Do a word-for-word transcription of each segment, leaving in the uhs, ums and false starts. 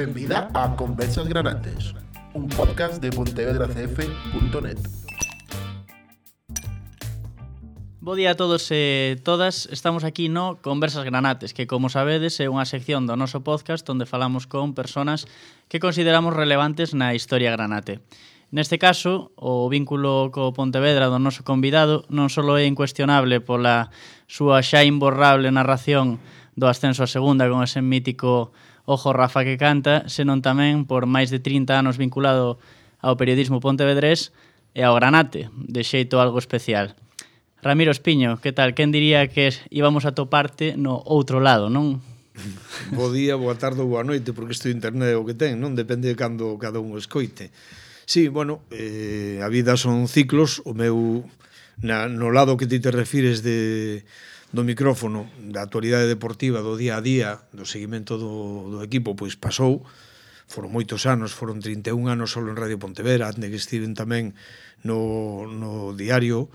Benvida a Conversas Granates, un podcast de pontevedra c f punto net. Bo día a todos e todas, estamos aquí no Conversas Granates, que como sabedes é unha sección do noso podcast onde falamos con personas que consideramos relevantes na historia granate. Neste caso, o vínculo co Pontevedra do noso convidado non só é incuestionable pola súa xa imborrable narración do ascenso a segunda con ese mítico Ojo Rafa que canta, senón tamén por máis de trinta anos vinculado ao periodismo pontevedrés e ao Granate, de xeito algo especial. Ramiro Espiño, que tal? Quen diría que íbamos a toparte no outro lado, non? Bo día, boa tarde ou boa noite, porque isto de internet é o que ten, non? Depende de cando cada un o escoite. Sí, bueno, eh, a vida son ciclos, o meu, na, no lado que ti te refires de, do micrófono, da actualidade deportiva, do día a día, do seguimento do, do equipo, pois pasou, foron moitos anos, foron trinta e un anos solo en Radio Pontevedra, antes que estiven tamén no, no diario,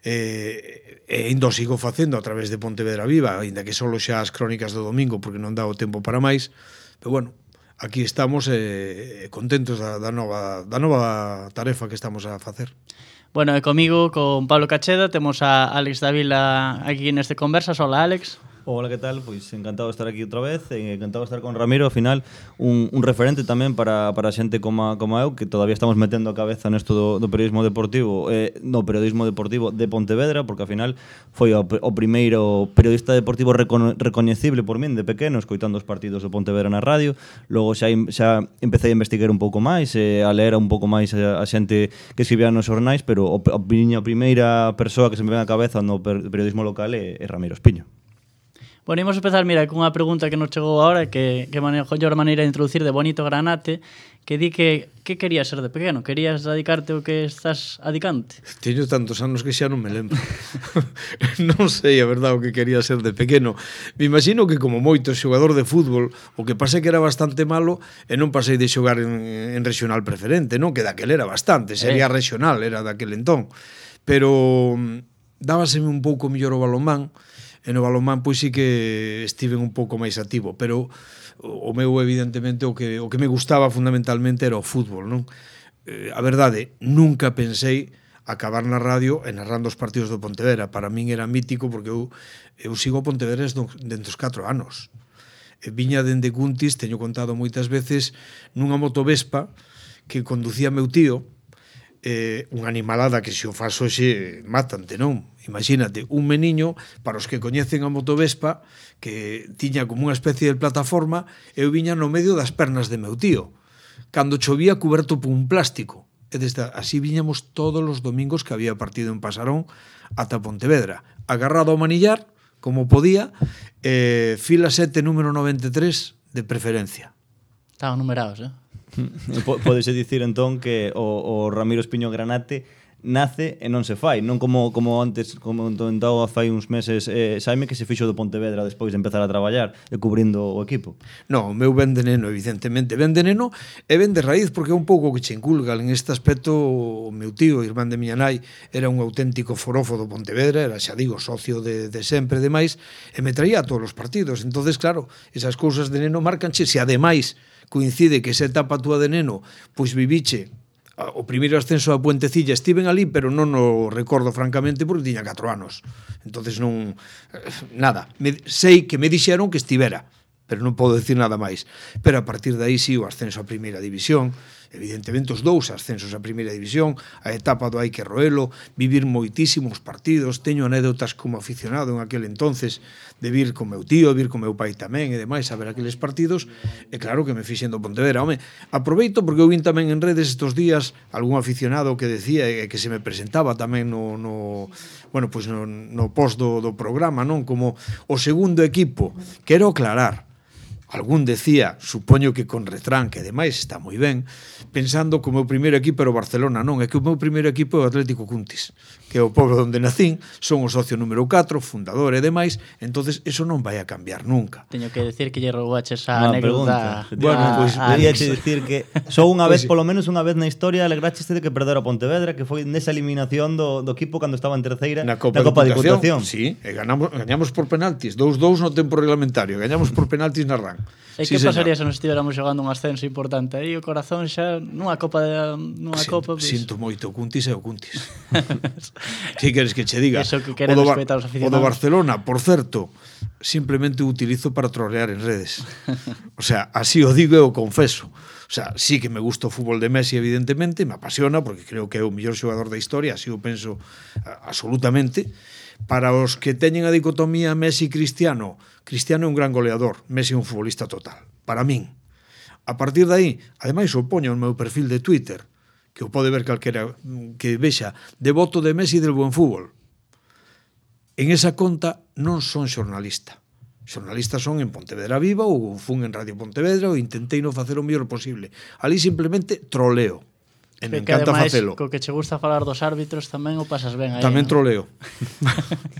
e, e ainda o sigo facendo a través de Pontevedra Viva, ainda que solo xa as crónicas do domingo, porque non dá o tempo para máis, pero bueno, aquí estamos eh, contentos da, da, nova, da nova tarefa que estamos a facer. Bueno, e comigo, con Pablo Cacheda, temos a Alex Davila aquí neste Conversas. Hola, Alex. Hola, que tal? Pois encantado de estar aquí outra vez, e encantado de estar con Ramiro, ao final un, un referente tamén para, para xente como, como eu, que todavía estamos metendo a cabeza nesto do, do periodismo deportivo, eh, no periodismo deportivo de Pontevedra, porque ao final foi o, o primeiro periodista deportivo recono, recoñecible por min de pequeno, escoitando os partidos do Pontevedra na radio. Logo xa, xa empecé a investigar un pouco máis, eh, a ler un pouco máis a, a xente que escribía nos xornais, pero o, a miña primeira persoa que se me ven a cabeza no periodismo local é, é Ramiro Espiño. Bueno, imos empezar, mira, cunha pregunta que nos chegou agora, que, que manejo a maneira de introducir de Bonito Granate, que di que que querías ser de pequeno? Querías dedicarte ao que estás adicante? Teño tantos anos que xa non me lembro. Non sei, a verdade, o que quería ser de pequeno. Me imagino que como moito xogador de fútbol, o que pasei que era bastante malo e non pasei de xogar en, en regional preferente, non? Que daquel era bastante, sería eh. regional, era daquel entón. Pero dábaseme un pouco mellor o balonmán, e no balonmán pois sí que estiven un pouco máis activo, pero o meu evidentemente o que o que me gustaba fundamentalmente era o fútbol, non? Eh, a verdade, nunca pensei acabar na radio e narrando os partidos do Pontevedra. Para min era mítico porque eu eu sigo o Pontevedra dentro dos catro anos. E viña dende Cuntis, teño contado moitas veces, nunha motovespa que conducía meu tío, eh, unha animalada que se o faz hoxe mátante, non? Imagínate, un meniño, para os que coñecen a motovespa, que tiña como unha especie de plataforma, eu viña no medio das pernas de meu tío, cando chovía cuberto por un plástico. E desde así viñamos todos os domingos que había partido en Pasarón ata Pontevedra, agarrado ao manillar, como podía, eh, fila sete, número noventa e tres, de preferencia. Estaban numerados, eh? Pódese dicir entón que o, o Ramiro Espiño Granate nace e non se fai, non como, como antes, como comentaba fai uns meses eh, Xaime, que se fixo do Pontevedra despois de empezar a traballar e cubrindo o equipo. Non, o meu ben de neno, evidentemente, ben de neno e ben de raíz, porque é un pouco que che inculga en este aspecto. O meu tío, irmán de miña nai, era un auténtico forofo do Pontevedra, era, xa digo, socio de, de sempre, demais, e me traía a todos os partidos. Entonces, claro, esas cousas de neno marcanche, se ademais coincide que esa etapa túa de neno, pois viviche o primeiro ascenso a Puentecilla, estiven ali, pero non o recordo francamente porque tiña catro anos. Entonces non nada, me, sei que me dixeron que estivera, pero non podo decir nada máis. Pero a partir de aí sí, o ascenso a primeira división, evidentemente os dous ascensos a primeira división, a etapa do hai que roelo, vivir moitísimos partidos, teño anécdotas como aficionado en aquel entonces, de vir con meu tío, vir con meu pai tamén e demais a ver aqueles partidos, e claro que me fixen do Pontevedra. Home, aproveito porque eu vin tamén en redes estos días algún aficionado que decía e que se me presentaba tamén no, no bueno, pois no, no post do, do programa, non? Como o segundo equipo. Quero aclarar, algún decía, supoño que con retranque, ademais está moi ben, pensando que o meu primeiro equipo era o Barcelona. Non, é que o meu primeiro equipo é o Atlético Cuntis, que é o pobo onde nacín, son o socio número catro, fundador e demais, entonces eso non vai a cambiar nunca. Teño que decir que lle roubaches a anécdota. Bueno, pois pues, podía che dicir que só unha vez, polo menos unha vez na historia, alegracheste de que perdera o Pontevedra, que foi nesa eliminación do, do equipo cando estaba en terceira na Copa, na Copa de Diputación. Diputación. Sí, e ganamos, gañamos por penaltis, dous dous no tempo reglamentario, gañamos por penaltis na arranque. fan. E Sí, que señor. pasaría se nos estiveramos xogando un ascenso importante? Aí o corazón xa nunha copa de, nunha Sinto, copa, pues, sinto moito, o Cuntis é o Cuntis. Si queres que che diga. Eso que o queren do, Bar- respectar os o aficionados. do Barcelona, por certo, simplemente o utilizo para trolear en redes. O sea, así o digo e o confeso. O sea, sí que me gusta o fútbol de Messi, evidentemente, me apasiona, porque creo que é o mellor xogador da historia, así o penso a, absolutamente. Para os que teñen a dicotomía Messi-Cristiano, Cristiano é un gran goleador, Messi é un futbolista total, para min. A partir de aí, ademais o poño no meu perfil de Twitter, que o pode ver calquera que vexa, devoto de Messi del buen fútbol. En esa conta non son xornalista. Xornalistas son en Pontevedra Viva ou fun en Radio Pontevedra ou intentei non facer o mellor posible. Ali simplemente troleo. E me que encanta ademais, facelo. co que che gusta falar dos árbitros tamén o pasas ben aí. Tamén ¿no? troleo.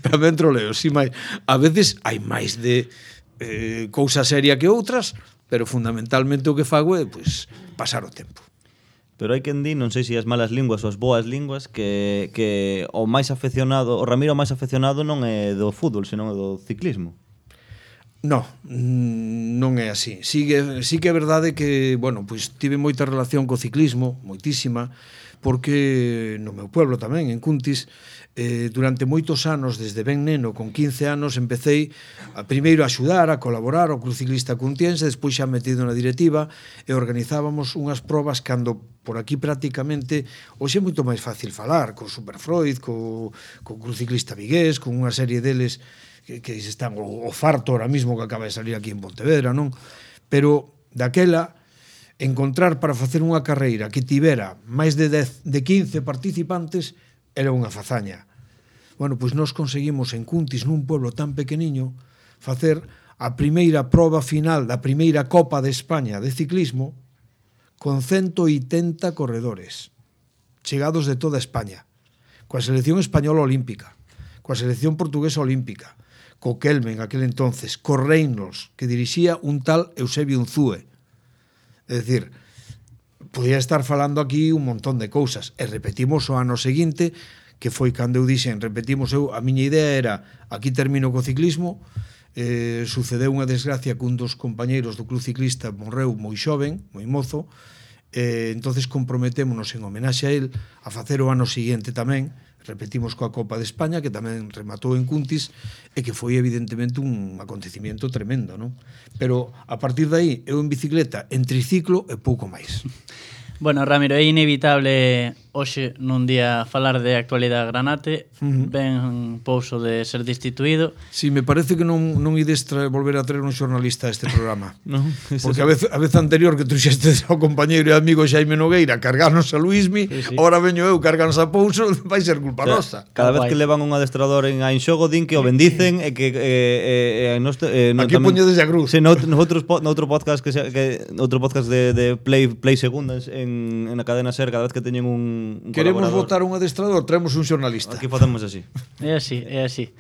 Tamén troleo, si máis. A veces hai máis de eh, cousa seria que outras, pero fundamentalmente o que fago é pues, pasar o tempo. Pero hai quen di, non sei se as malas linguas ou as boas linguas, que, que o máis afeccionado, o Ramiro máis afeccionado non é do fútbol, senón é do ciclismo. No, non é así. Sí que, sí que é verdade que, bueno, pois tive moita relación co ciclismo, moitísima, porque no meu pueblo tamén, en Cuntis, eh, durante moitos anos, desde ben neno, con quince anos, empecéi a, primeiro a axudar, a colaborar ao Club Ciclista Cuntiense, despois xa metido na directiva, e organizábamos unhas probas cando por aquí prácticamente, hoxe é moito máis fácil falar, co Superfreud, co, co Club Ciclista Vigués, con unha serie deles que, que están, o, o Farto ahora mismo que acaba de salir aquí en Pontevedra, non? Pero daquela, encontrar para facer unha carreira que tivera máis de dez, de quince participantes era unha fazaña. Bueno, pois nós conseguimos en Cuntis, nun pueblo tan pequeniño, facer a primeira proba final da primeira Copa de España de ciclismo con ciento oitenta corredores chegados de toda España, coa selección española olímpica, coa selección portuguesa olímpica, co Kelmen aquel entonces, co Reynolds, que dirixía un tal Eusebio Unzúe. É dicir, podía estar falando aquí un montón de cousas, e repetimos o ano seguinte, que foi cando eu dixen, repetimos eu, a miña idea era, aquí termino co ciclismo, eh, sucedeu unha desgracia que un dos compañeiros do Club Ciclista morreu moi xoven, moi mozo, eh, entonces comprometémonos en homenaxe a él a facer o ano seguinte tamén, repetimos coa Copa de España, que tamén rematou en Cuntis, e que foi evidentemente un acontecimiento tremendo, non? Pero a partir de aí, eu en bicicleta, en triciclo e pouco máis. Bueno, Ramiro, é inevitable hoxe nun día falar de actualidade granate, uh-huh. ben pouso de ser destituído. Si, sí, me parece que non, non ides tra- volver a traer un xornalista a este programa. No, porque a vez, a vez anterior que truxeste ao compañeiro e amigo Xaime Nogueira cargarnos a Luismi, sí, sí. Ahora veño eu cargarnos a Pouso, vai ser culpa o sea, nosa. Cada vez que levan un adestrador en a Inxogo din que o bendicen e que eh, eh, nos, eh, no, aquí poño desde a cruz. Sí, no, nosotros noutro podcast que, se, que outro podcast de, de Play Play Segundas en, en a cadena SER, cada vez que teñen un, un queremos votar un adestrador, traemos un xornalista. Aquí facemos así. É así, é así.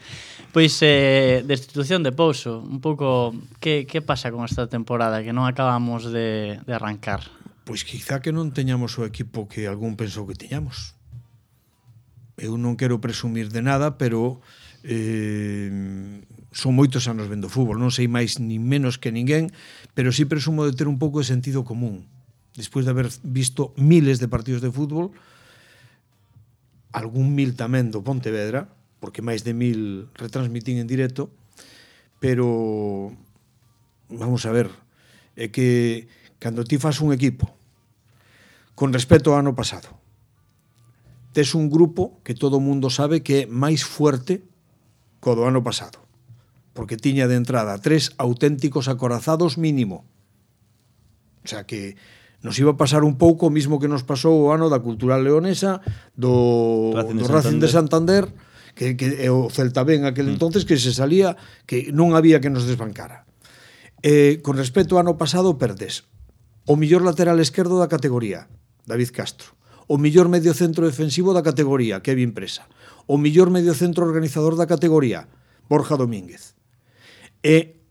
Pois, eh, destitución de Pouso, un pouco, que, que pasa con esta temporada que non acabamos de, de arrancar? Pois quizá que non teñamos o equipo que algún pensou que teñamos. Eu non quero presumir de nada, pero eh, son moitos anos vendo fútbol, non sei máis ni menos que ninguén, pero sí presumo de ter un pouco de sentido común. Despois de haber visto miles de partidos de fútbol, algún mil tamén do Pontevedra, porque máis de mil retransmitín en directo, pero vamos a ver, é que cando ti fas un equipo con respecto ao ano pasado, tes un grupo que todo o mundo sabe que é máis fuerte co do ano pasado, porque tiña de entrada tres auténticos acorazados mínimo. O sea que nos iba a pasar un pouco o mismo que nos pasou o ano da Cultural Leonesa, do Racing de, do Racing de Santander, que, que é o Celta Ben aquel mm. entonces, que se salía, que non había que nos desbancara. Eh, con respecto ao ano pasado, perdes o millor lateral esquerdo da categoría, David Castro, o millor medio centro defensivo da categoría, Kevin Presa, o millor medio centro organizador da categoría, Borja Domínguez, e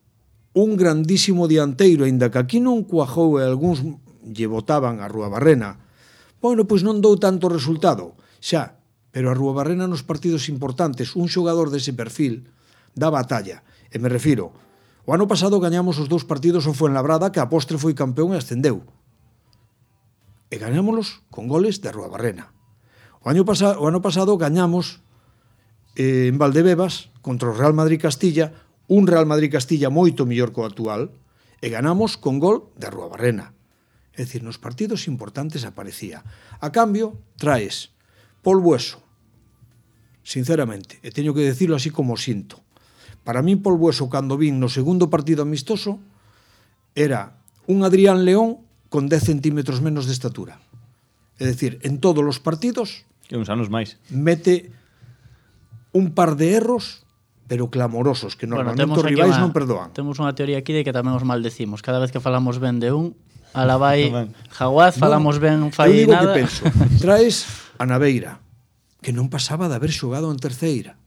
un grandísimo dianteiro, aínda que aquí non cuajou e algúns lle botaban a Rúabarrena. Bueno, pois non dou tanto resultado, xa, pero a Rúabarrena nos partidos importantes, un xogador dese perfil dá batalla, e me refiro, O ano pasado gañamos os dous partidos ao Fuenlabrada, que a postre foi campeón e ascendeu. E gañámolos con goles de Arruabarrena. O ano, pasa, o ano pasado gañamos eh, en Valdebebas contra o Real Madrid Castilla, un Real Madrid Castilla moito mellor que o actual, e ganamos con gol de Arruabarrena. É dicir, nos partidos importantes aparecía. A cambio, traes Pol Bueso, sinceramente, e teño que decirlo así como sinto. Para min, Pol Bueso, cando vin no segundo partido amistoso, era un Adrián León con dez centímetros menos de estatura. É dicir, en todos os partidos Que uns anos máis. mete un par de erros, pero clamorosos, que normalmente bueno, os rivais unha, non perdoan. Temos unha teoría aquí de que tamén os maldecimos. Cada vez que falamos ben de un, alabai Jaguaz, falamos ben fai eu digo nada. que penso, traes a Naveira, que non pasaba de haber xogado en terceira.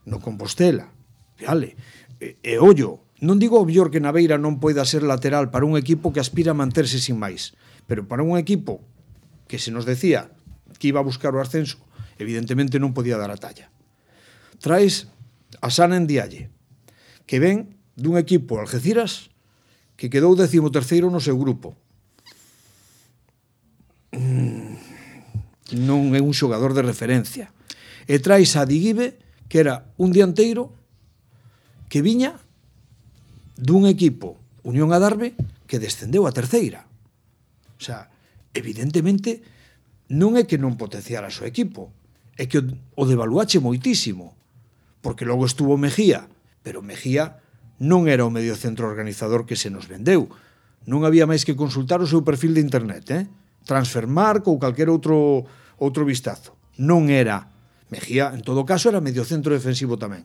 No Compostela. Vale. E, e ollo, non digo o mellor que Naveira non poida ser lateral para un equipo que aspira a manterse sin máis, pero para un equipo que se nos decía que iba a buscar o ascenso, evidentemente non podía dar a talla. Traes a Sana Ndiaye, que ven dun equipo Algeciras que quedou décimo terceiro no seu grupo. Mm, non é un xogador de referencia. E traes a Diguibe, que era un dianteiro que viña dun equipo, Unión Adarve, que descendeu a terceira. O sea, evidentemente, non é que non potenciara o seu equipo, é que o devaluache moitísimo, porque logo estuvo Mejía, pero Mejía non era o mediocentro organizador que se nos vendeu. Non había máis que consultar o seu perfil de internet, eh? Transfermarkt ou calquer outro, outro vistazo. Non era Mejía, en todo caso, era mediocentro defensivo tamén,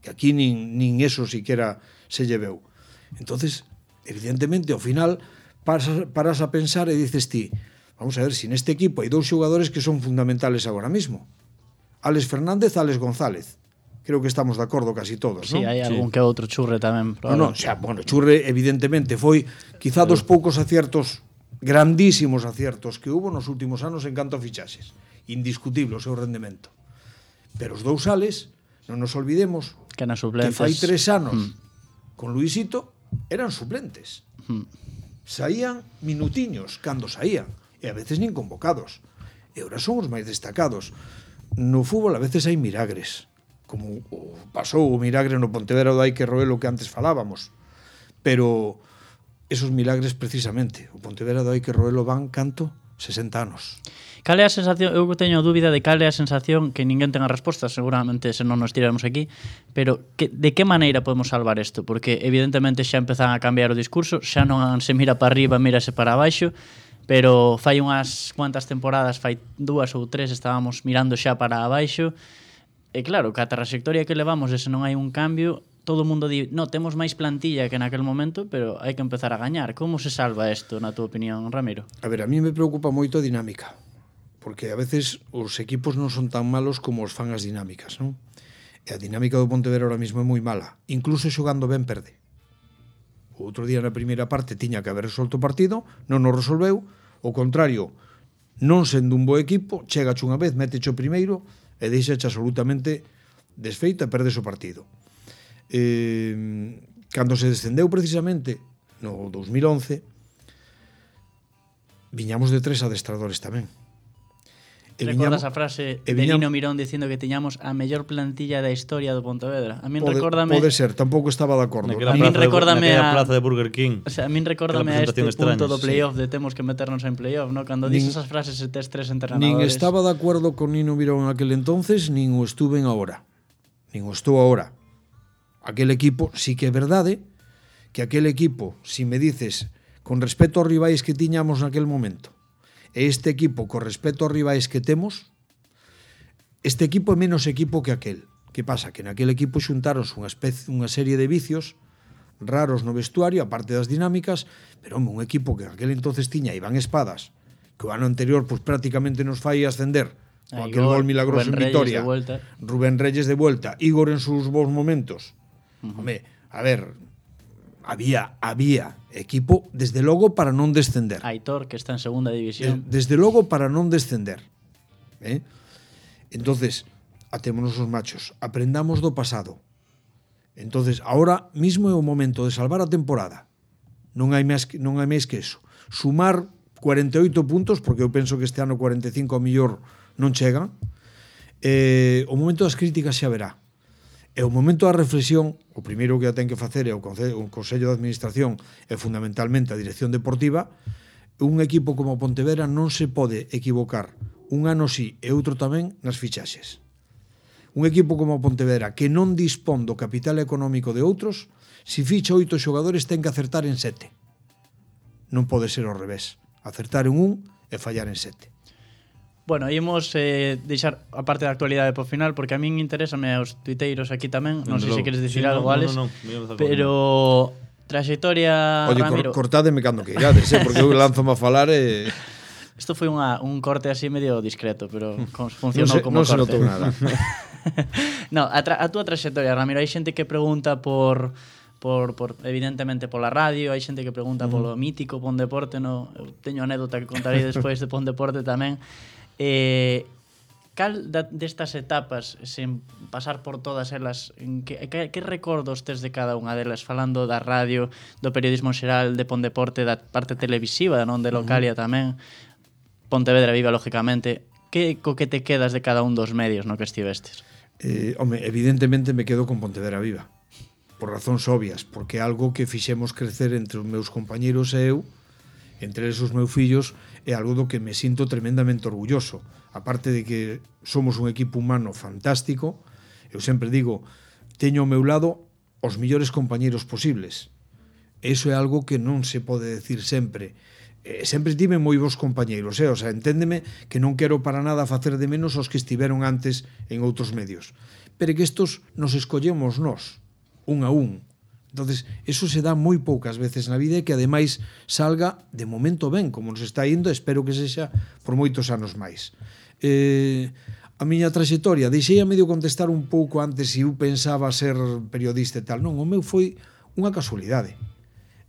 que aquí nin, nin eso siquiera se lleveu. Entonces, evidentemente, ao final, paras, paras a pensar e dices ti, vamos a ver, si neste equipo hai dous xogadores que son fundamentales agora mismo. Alex Fernández, Alex González. Creo que estamos de acordo casi todos, Sí, non? hai Sí. algún que outro Churre tamén. No, no, o sea, bueno, Churre evidentemente foi quizá dos poucos aciertos, grandísimos aciertos que hubo nos últimos anos en canto a fichaxes. Indiscutible o seu rendemento. Pero os dous Ales, non nos olvidemos Que nas que suplentes. fai tres anos Mm. con Luisito eran suplentes. Mm. Saían minutiños cando saían e a veces nin convocados. E ahora son os máis destacados. No fútbol a veces hai milagres, como o pasou o milagre no Pontevedra do Aike Roelo que antes falábamos. Pero esos milagres precisamente, o Pontevedra do Aike Roelo van canto sesenta anos. Cal é a sensación? Eu teño dúbida de cal é a sensación, que ninguén ten a resposta, seguramente se non nos tiramos aquí, pero que, de que maneira podemos salvar isto? Porque evidentemente xa empezan a cambiar o discurso, xa non se mira para arriba, mírase para abaixo, pero fai unhas cuantas temporadas, fai dúas ou tres, estábamos mirando xa para abaixo, e claro, que a trayectoria que levamos, e se non hai un cambio, todo o mundo di, no, temos máis plantilla que naquel momento, pero hai que empezar a gañar. Como se salva isto, na tua opinión, Ramiro? A ver, a mí me preocupa moito a dinámica, porque a veces os equipos non son tan malos como os fan as dinámicas, non? E a dinámica do Pontevedra ahora mismo é moi mala. Incluso xogando ben perde. O outro día na primeira parte tiña que haber resolto o partido, non o resolveu, o contrario, non sendo un bo equipo, chegache unha vez, méteche o primeiro e deixache absolutamente desfeito e perdes o partido. Eh, cando se descendeu precisamente no dos mil once, viñamos de tres adestradores tamén. E recordas a frase de Nino Mirón dicindo que tiñamos a mellor plantilla da historia do Pontevedra? A min pode, recórdame... Pode ser, tampouco estaba de acordo. Naquela A min plaza, de, recórdame naquela a- plaza de Burger King. O sea, a min recórdame a este presentación punto extraña, do playoff de temos que meternos en playoff, ¿no? Cando Nin- dices esas frases e tes tres entrenadores. Nin estaba de acordo con Nino Mirón en aquel entonces, nin o estuve en ahora. Nin o estou ahora. Aquel equipo, sí que é verdade, que aquel equipo, si me dices, con respecto aos rivais que tiñamos naquel momento, e este equipo, con respecto aos rivais que temos, este equipo é menos equipo que aquel. Que pasa? Que naquel equipo xuntaronse unha, especie, unha serie de vicios raros no vestuario, aparte das dinámicas, pero home, un equipo que aquel entonces tiña Iván Espadas, que o ano anterior pues, prácticamente nos fai ascender con A aquel Igor, gol milagroso Rubén en Reyes Vitoria, de vuelta. Rubén Reyes de vuelta, Igor en sus bons momentos. Uh-huh. Home, a ver, había había equipo desde logo para non descender. Aitor, que está en segunda división. De, desde logo para non descender. Eh? Entonces, atémonos os machos, aprendamos do pasado Entonces, ahora mismo é o momento de salvar a temporada. Non hai máis, non hai máis que eso. Sumar cuarenta e oito puntos, porque eu penso que este ano cuarenta e cinco a millor non chegan. Eh, o momento das críticas xa verá. E o momento da reflexión, o primeiro que a ten que facer é o Consello, o Consello de Administración e fundamentalmente a Dirección Deportiva. Un equipo como Pontevedra non se pode equivocar un ano sí e outro tamén nas fichaxes. Un equipo como Pontevedra que non dispón do capital económico de outros, se ficha oito xogadores ten que acertar en sete. Non pode ser ao revés. Acertar en un e fallar en sete. Bueno, ímos eh, deixar a parte da actualidade por final, porque a min interésame aos tuiteiros aquí tamén. Non sei se queres dicir sí, algo, no, Alex. no, no, no, pero trayectoria, Oye, Ramiro. cor, cortádeme cando que irades, eh, porque eu lanzo-me a falar e... Isto foi unha, un corte así medio discreto, pero funcionou non se, como non corte. Non se notou nada. No, a, tra a túa trayectoria, Ramiro, hai xente que pregunta por, por, por evidentemente pola radio, hai xente que pregunta uh -huh. polo mítico Pon Deporte, no, eu teño anécdota que contarei despois de Pon Deporte tamén. Eh, cal da, destas etapas, sen pasar por todas elas, en que, que, que recordos tes de cada unha delas, falando da radio, do periodismo xeral, de Pon Deporte, da parte televisiva, non de Localia uh -huh. tamén, Pontevedra Viva, lógicamente, que co que te quedas de cada un dos medios no que estivestes? Eh, home, evidentemente me quedo con Pontevedra Viva, por razóns obvias, porque é algo que fixemos crecer entre os meus compañeiros e eu, entre eles os meus fillos, é algo do que me sinto tremendamente orgulloso. Aparte de que somos un equipo humano fantástico, eu sempre digo, teño ao meu lado os millores compañeiros posibles. Eso é algo que non se pode decir sempre. Eh, sempre tive moi bons compañeiros, eh? O sea, enténdeme que non quero para nada facer de menos os que estiveron antes en outros medios. Pero que estos nos escollemos nós, un a un. Entonces, eso se dá moi poucas veces na vida e que ademais salga de momento ben, como nos está indo, espero que sexa por moitos anos máis. Eh, a miña trayectoria, deixei a medio contestar un pouco antes se eu pensaba ser periodista e tal. Non, o meu foi unha casualidade.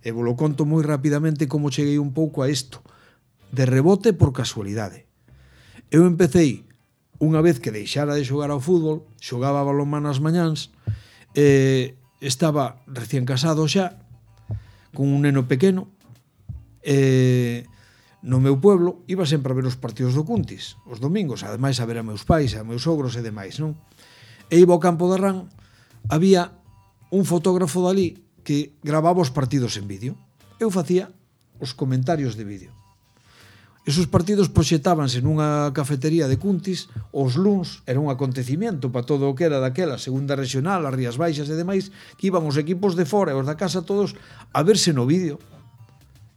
E vos lo conto moi rapidamente como cheguei un pouco a isto. De rebote por casualidade. Eu empecei, unha vez que deixara de xogar ao fútbol, xogaba balonmano as mañáns, e estaba recién casado xa, con un neno pequeno, e no meu pueblo iba sempre a ver os partidos do Cuntis, os domingos, ademais a ver a meus pais, a meus sogros e demais, non? E iba ao campo de Arrán, había un fotógrafo dali que gravaba os partidos en vídeo. Eu facía os comentarios de vídeo. Esos partidos proxetábanse nunha cafetería de Cuntis, os luns era un acontecimiento para todo o que era daquela segunda regional, as Rías Baixas e demais, que iban os equipos de fora e os da casa todos a verse no vídeo.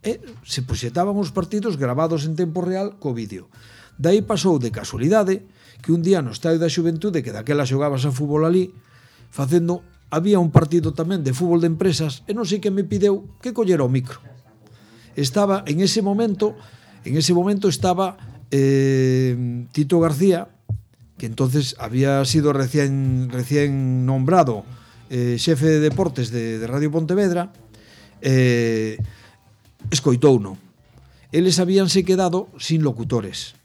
E se proxetaban os partidos gravados en tempo real co vídeo. Daí pasou de casualidade que un día no Estadio da Xuventude, que daquela xogabas a fútbol ali, facendo había un partido tamén de fútbol de empresas e non sei que me pideu que collera o micro. Estaba en ese momento, en ese momento estaba eh, Tito García, que entonces había sido recién, recién nombrado eh, xefe de deportes de, de Radio Pontevedra, eh, escoitouno. Eles habíanse quedado sin locutores,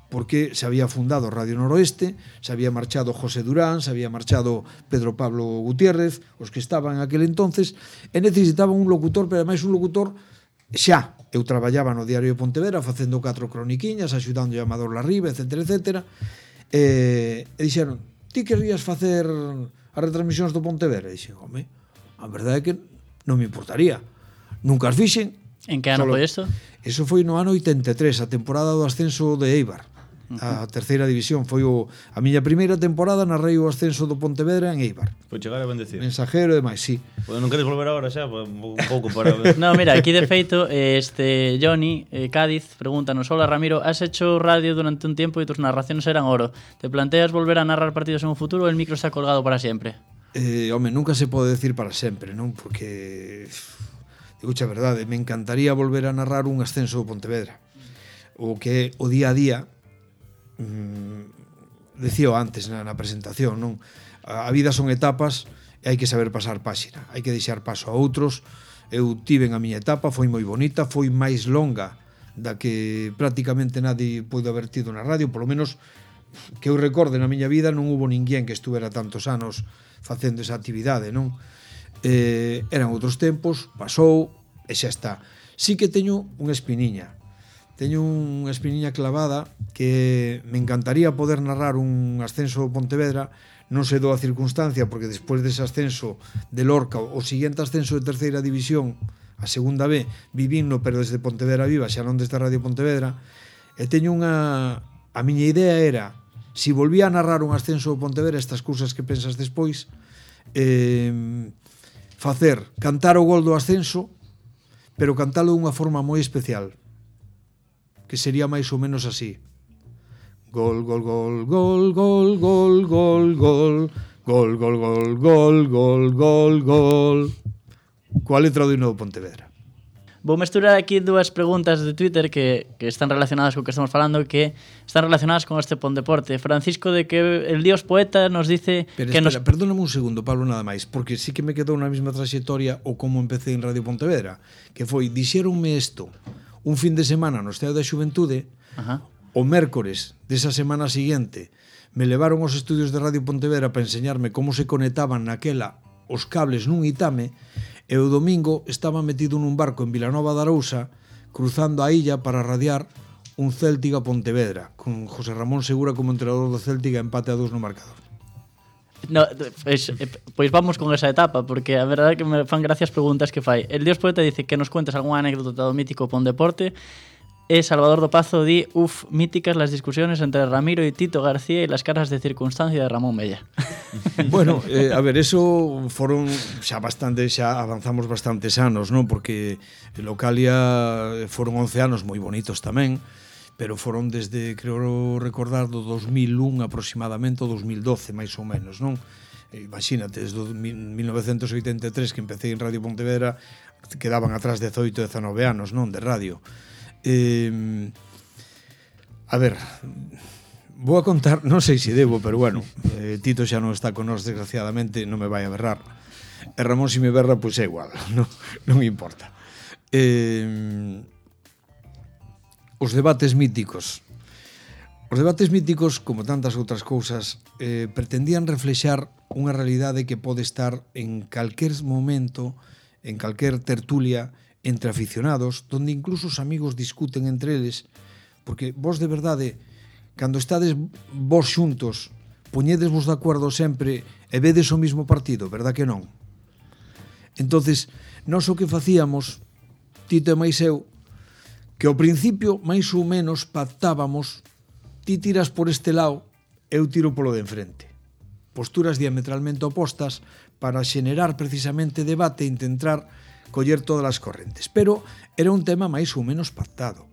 porque se había fundado Radio Noroeste, se había marchado José Durán, se había marchado Pedro Pablo Gutiérrez, os que estaban en aquel entonces, e necesitaban un locutor, pero ademais un locutor xa. Eu traballaba no Diario de Pontevedra facendo catro croniquiñas, axudando a Amador Larriba, etcétera, etcétera, e, e dixeron, ti querrías facer as retransmisións do Pontevedra? E dixen, home, a verdade é que non me importaría. Nunca as fixen. En que ano foi isto? Eso foi no ano oitenta e tres, a temporada do ascenso de Eibar. A terceira división foi o, a miña primeira temporada, narrei o ascenso do Pontevedra en Eibar. Foi chegar a bendecir. Mensajero e demais, sí. Pois non queres volver agora xa, pues, un pouco para ver. No, mira, aquí de feito este Johnny eh, Cádiz pregúntanos: "Hola Ramiro, has hecho radio durante un tiempo y tus narraciones eran oro. ¿Te planteas volver a narrar partidos en un futuro o el micro está colgado para siempre?" Eh, home, nunca se pode decir para sempre, non? Porque digo a verdade, me encantaría volver a narrar un ascenso do Pontevedra. O que o día a día mm, decío antes na, na presentación, non? A, a vida son etapas e hai que saber pasar páxina, hai que deixar paso a outros. Eu tiven a miña etapa, foi moi bonita, foi máis longa da que prácticamente nadie pode haber tido na radio, polo menos que eu recorde na miña vida non hubo ninguén que estuvera tantos anos facendo esa actividade, non? Eh, eran outros tempos, pasou e xa está. Sí que teño unha espiniña. Teño unha espiniña clavada que me encantaría poder narrar un ascenso do Pontevedra. Non se dou a circunstancia porque despois dese ascenso de Lorca, o seguinte ascenso de terceira división, a segunda B, vivinno pero desde Pontevedra Viva, xa non desde Radio Pontevedra, e teño unha... A miña idea era, si volvía a narrar un ascenso do Pontevedra, estas cousas que pensas despois, eh, facer, cantar o gol do ascenso, pero cantalo dunha forma moi especial, que sería máis ou menos así. Gol, gol, gol, gol, gol, gol, gol, gol, gol, gol, gol, gol, gol, gol, gol. Coa letra do himno do Pontevedra. Vou mesturar aquí dúas preguntas de Twitter que, que están relacionadas co que estamos falando, que están relacionadas con este Pondeporte. Francisco de que el Dios Poeta nos dice... Pero que espera, nos... perdóname un segundo, Pablo, nada máis, porque sí que me quedou na mesma trayectoria o como empecé en Radio Pontevedra, que foi, dixéronme isto un fin de semana no Estado da Xuventude. Ajá. O mércores desa semana seguinte me levaron aos estudios de Radio Pontevedra para enseñarme como se conectaban naquela os cables nun itame, e o domingo estaba metido nun barco en Vilanova de Arousa cruzando a illa para radiar un Céltiga Pontevedra con José Ramón Segura como entrenador do Céltiga, empate a dous no marcador. No, pois, pois vamos con esa etapa, porque a verdade é que me fan gracias preguntas que fai. El Dios Poeta dice que nos cuentes algunha anécdota do mítico Pondeporte. E Salvador do Pazo di, uf, míticas las discusiones entre Ramiro y Tito García y las caras de circunstancia de Ramón Mella. Bueno, eh, a ver, eso foron xa bastante, xa avanzamos bastantes anos, non? Porque Localia foron once anos moi bonitos tamén, pero foron desde, creo recordar, do dos mil un aproximadamente, o dos mil doce, máis ou menos, non? Imagínate, desde mil novecentos oitenta e tres que empecé en Radio Pontevedra, quedaban atrás dezoito, dezanove anos, non? De radio. Eh, a ver, vou a contar, non sei se debo, pero bueno, eh, Tito xa non está con nós, desgraciadamente, non me vai a berrar. E Ramón, se me berra, pois é igual, non, non importa. Eh, os debates míticos. Os debates míticos, como tantas outras cousas, eh, pretendían reflexar unha realidade que pode estar en calquer momento, en calquer tertulia, entre aficionados, donde incluso os amigos discuten entre eles, porque vos de verdade, cando estades vos xuntos, poñedesvos de acordo sempre e vedes o mismo partido, verdad que non? Entonces, nós o que facíamos, Tito e máis eu, que ao principio, máis ou menos, pactábamos, ti tiras por este lado, eu tiro polo de enfrente. Posturas diametralmente opostas para xenerar precisamente debate e intentar coller todas as correntes, pero era un tema máis ou menos pactado.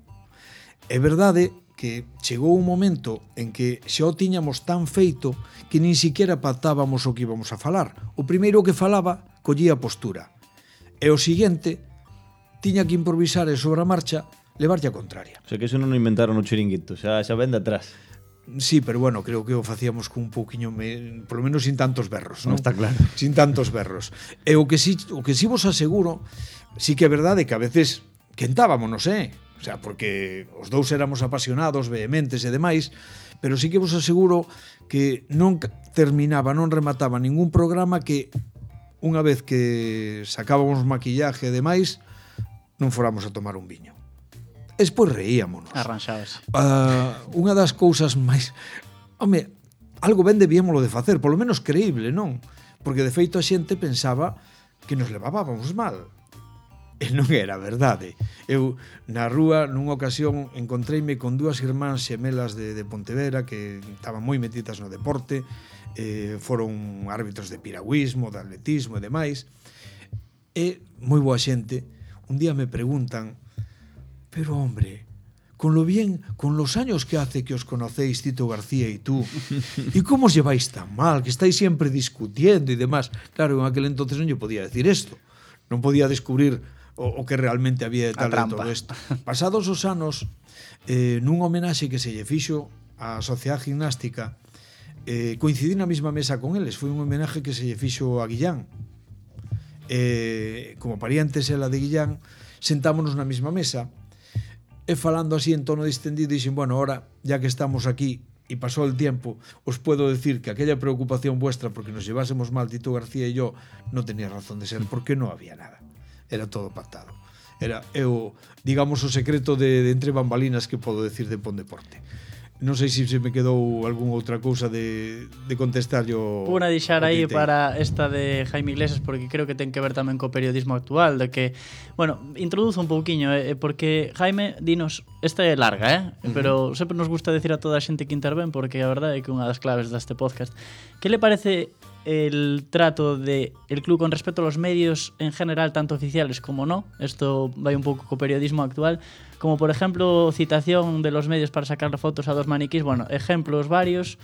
É verdade que chegou un momento en que xa o tiñamos tan feito que nin siquiera pactábamos o que íbamos a falar. O primeiro que falaba collía postura, e o seguinte tiña que improvisar e sobre a marcha levarlle a contraria. O sea que eso non o inventaron no chiringuito, xa, xa ven de atrás. Sí, pero bueno, creo que o facíamos con un pouquiño, me, polo menos sin tantos berros, non? Non está claro. Sin tantos berros. E o que si, o que si vos aseguro, sí que é verdade que a veces quentábamos, non sei, o sea, porque os dous éramos apasionados, vehementes e demais, pero sí que vos aseguro que non terminaba, non remataba ningún programa que unha vez que sacábamos maquillaje e demais, non foramos a tomar un viño. Despois reíamonos. Arranxabas. Uh, unha das cousas máis... Home, algo ben debíamolo de facer, polo menos creíble, non? Porque de feito a xente pensaba que nos levábamos mal. E non era verdade. Eu, na rúa, nunha ocasión, encontreime con dúas irmáns xemelas de, de Pontevedra que estaban moi metidas no deporte, eh, foron árbitros de piragüismo, de atletismo e demais, e moi boa xente. Un día me preguntan: pero hombre, con lo bien, con los años que hace que os conocéis Tito García y tú, ¿y cómo os lleváis tan mal? Que estáis siempre discutiendo y demás. Claro, en aquel entonces non yo podía decir esto. Non podía descubrir o, o que realmente había detrás de todo isto. Pasados os anos, eh, nun homenaxe que se lle fixo á Sociedade Gimnástica, eh, coincidí na mesma mesa con eles. Foi un homenaje que se lle fixo a Guillán. Eh, como parientes ela de Guillán, sentámonos na mesma mesa, e falando así en tono distendido, dixen, bueno, ahora, ya que estamos aquí, y pasó el tiempo, os puedo decir que aquella preocupación vuestra porque nos llevásemos mal Tito García y yo no tenía razón de ser, porque no había nada. Era todo pactado. Era, eu, digamos, o secreto de, de entre bambalinas que podo decir de Pondeporte. Non sei se se me quedou algunha outra cousa de, de contestar yo. Una deixar aí para esta de Jaime Iglesias, porque creo que ten que ver tamén co periodismo actual, de que, bueno, introduzo un pouquiño, eh, porque Jaime, dinos, esta é larga, eh? Uh-huh. Pero sempre nos gusta decir a toda a xente que interven, porque a verdade é que unha das claves deste podcast. Que le parece el trato de el club con respecto a los medios en general, tanto oficiales como no? Esto vai un pouco co periodismo actual, como por ejemplo citación de los medios para sacar fotos a dos maniquís, bueno, ejemplos varios.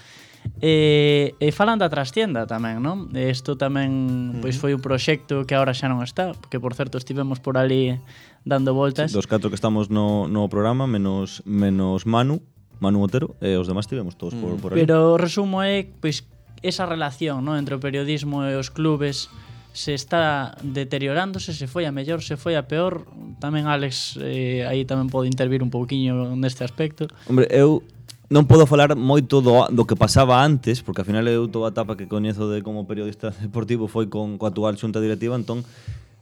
E, e falan da trastienda tamén, non? Isto tamén pois foi un proxecto que agora xa non está, que por certo estivemos por ali dando voltas. Sí, dos catro que estamos no, no programa, menos menos Manu, Manu Otero, e os demás estivemos todos por, por ali. Pero o resumo é pois esa relación, ¿no?, entre o periodismo e os clubes se está deteriorándose, se foi a mellor, se foi a peor. Tamén Alex eh, aí tamén pode intervir un pouquiño neste aspecto. Hombre, eu non podo falar moito do, do que pasaba antes, porque ao final eu toda a etapa que coñezo de como periodista deportivo foi con coa actual xunta directiva, entón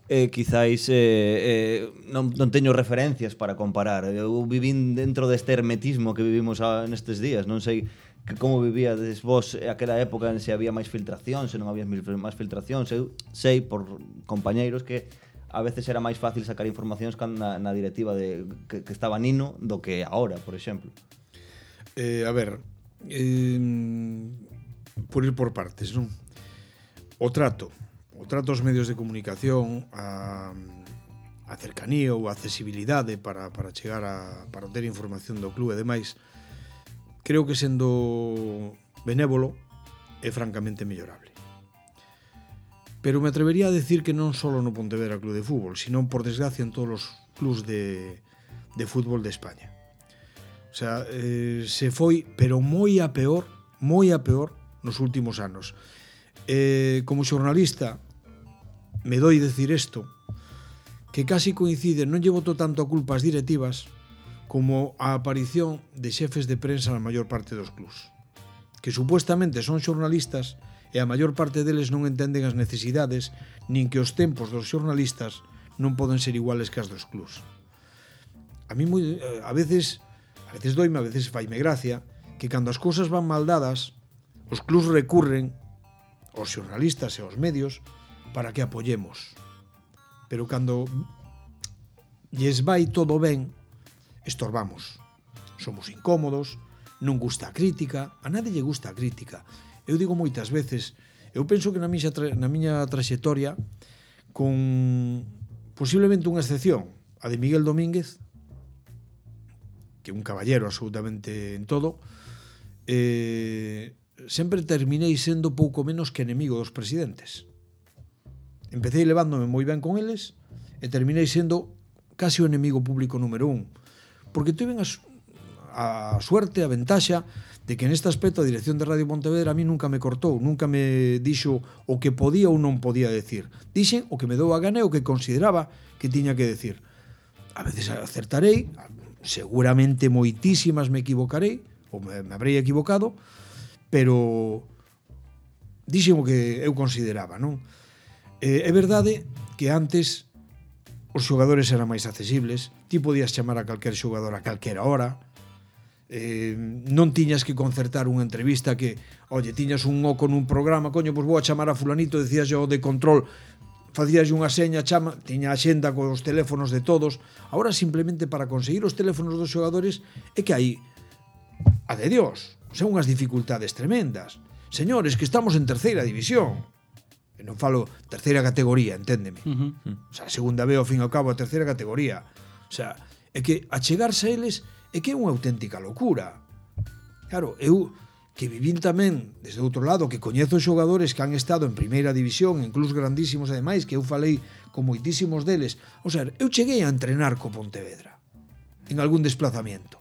eh, quizáis eh, eh, non, non teño referencias para comparar. Eu vivín dentro deste hermetismo que vivimos a, nestes días, non sei que como vivíades vos aquela época, se había máis filtración, se non había máis filtración. Eu sei por compañeiros que a veces era máis fácil sacar informacións na, na directiva de, que, que estaba Nino do que ahora, por exemplo. Eh, a ver, eh, por ir por partes, non? O trato, o trato aos medios de comunicación, a, a cercanía ou a accesibilidade para, para chegar a para ter información do club e demais, creo que sendo benévolo é francamente mellorable. Pero me atrevería a decir que non só no Pontevedra Club de Fútbol, sino por desgracia en todos os clubs de, de fútbol de España. O sea, eh, se foi, pero moi a peor, moi a peor nos últimos anos. Eh, como xornalista, me doi decir isto, que casi coincide, non lle boto tanto a culpa ás directivas, como a aparición de xefes de prensa na maior parte dos clubs, que supuestamente son xornalistas e a maior parte deles non entenden as necesidades nin que os tempos dos xornalistas non poden ser iguales que as dos clubs. A mí moi, a veces a veces doime, a veces faime gracia que cando as cousas van mal dadas, os clubs recurren aos xornalistas e aos medios para que apoyemos. Pero cando lles vai todo ben, estorbamos, somos incómodos, non gusta a crítica, a nadie lle gusta a crítica. Eu digo moitas veces, eu penso que na miña, tra na miña traxectoria, con posiblemente unha excepción, a de Miguel Domínguez, que é un caballero absolutamente en todo, eh, sempre terminei sendo pouco menos que enemigo dos presidentes. Empecé levándome moi ben con eles e terminei sendo casi o enemigo público número un. Porque tuve a, a suerte, a ventaxa de que neste aspecto a dirección de Radio Pontevedra a mí nunca me cortou, nunca me dixo o que podía ou non podía decir. Dixen o que me dou a gana e o que consideraba que tiña que decir. A veces acertarei, seguramente moitísimas me equivocarei, ou me, me habrei equivocado, pero dixen o que eu consideraba, non? Eh, é verdade que antes os xogadores eran máis accesibles, ti podías chamar a calquer xogador a calquera hora, eh, non tiñas que concertar unha entrevista que, oye, tiñas un oco nun programa, coño, pois vou a chamar a fulanito, decías yo de control, facías unha seña, chama, tiña a xenda cos teléfonos de todos. Agora simplemente para conseguir os teléfonos dos xogadores é que hai, a de Dios, son unhas dificultades tremendas. Señores, que estamos en terceira división. E non falo terceira categoría, enténdeme. Uh -huh. O sea, a segunda B, ao fin e ao cabo, a terceira categoría. O sea, é que achegarse a eles é que é unha auténtica locura. Claro, eu que vivín tamén desde outro lado, que coñezo xogadores que han estado en primeira división, en clubs grandísimos ademais, que eu falei con moitísimos deles. O sea, eu cheguei a entrenar co Pontevedra en algún desplazamiento.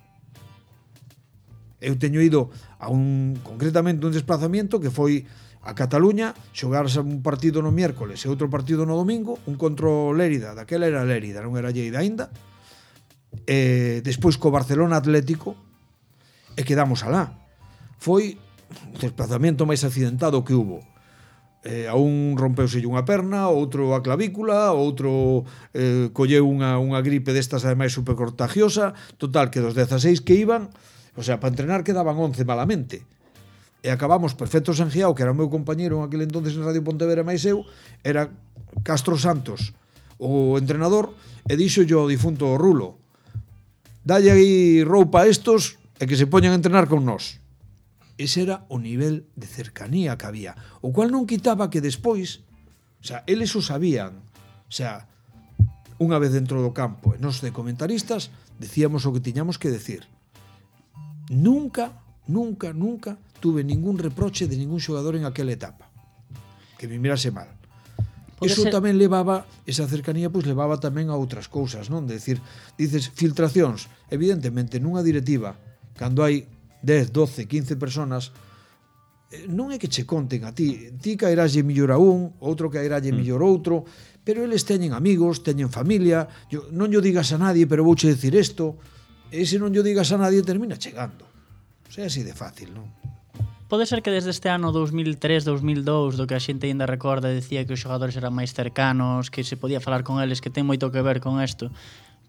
Eu teño ido a un, concretamente un desplazamiento que foi a Cataluña, xogarse un partido no miércoles e outro partido no domingo, un contra o Lérida, daquela era Lérida, non era Lleida aínda, e despois co Barcelona Atlético, e quedamos alá. foi o desplazamento máis accidentado que hubo. Eh, a un rompeuse unha perna, outro a clavícula, outro eh, colleu unha, unha gripe destas ademais supercontagiosa. Total, que dos dezaseis que iban, o sea, para entrenar quedaban once malamente. E acabamos Perfecto Sangiao, que era o meu compañeiro en aquel entonces en Radio Pontevedra máis eu, era Castro Santos o entrenador, e dixo yo ao difunto Rulo: dalle aí roupa a estos e que se poñan a entrenar con nós. Ese era o nivel de cercanía que había, o cual non quitaba que despois, o sea, eles o sabían, o sea, unha vez dentro do campo, e nos de comentaristas decíamos o que tiñamos que decir. Nunca, nunca, nunca tuve ningún reproche de ningún xogador en aquela etapa que me mirase mal. Eso ser... tamén levaba, esa cercanía pois levaba tamén a outras cousas, non? De decir, dices, filtracións, evidentemente nunha directiva, cando hai dez, doce, quince personas, non é que che conten a ti, ti caeralle millor a un, outro caeralle millor outro, pero eles teñen amigos, teñen familia. Yo, non yo digas a nadie, pero vouche decir isto, e se non yo digas a nadie termina chegando. O sea, así de fácil, non? Pode ser que desde este ano dous mil tres, dous mil dous, do que a xente ainda recorda, decía que os xogadores eran máis cercanos, que se podía falar con eles, que ten moito que ver con isto.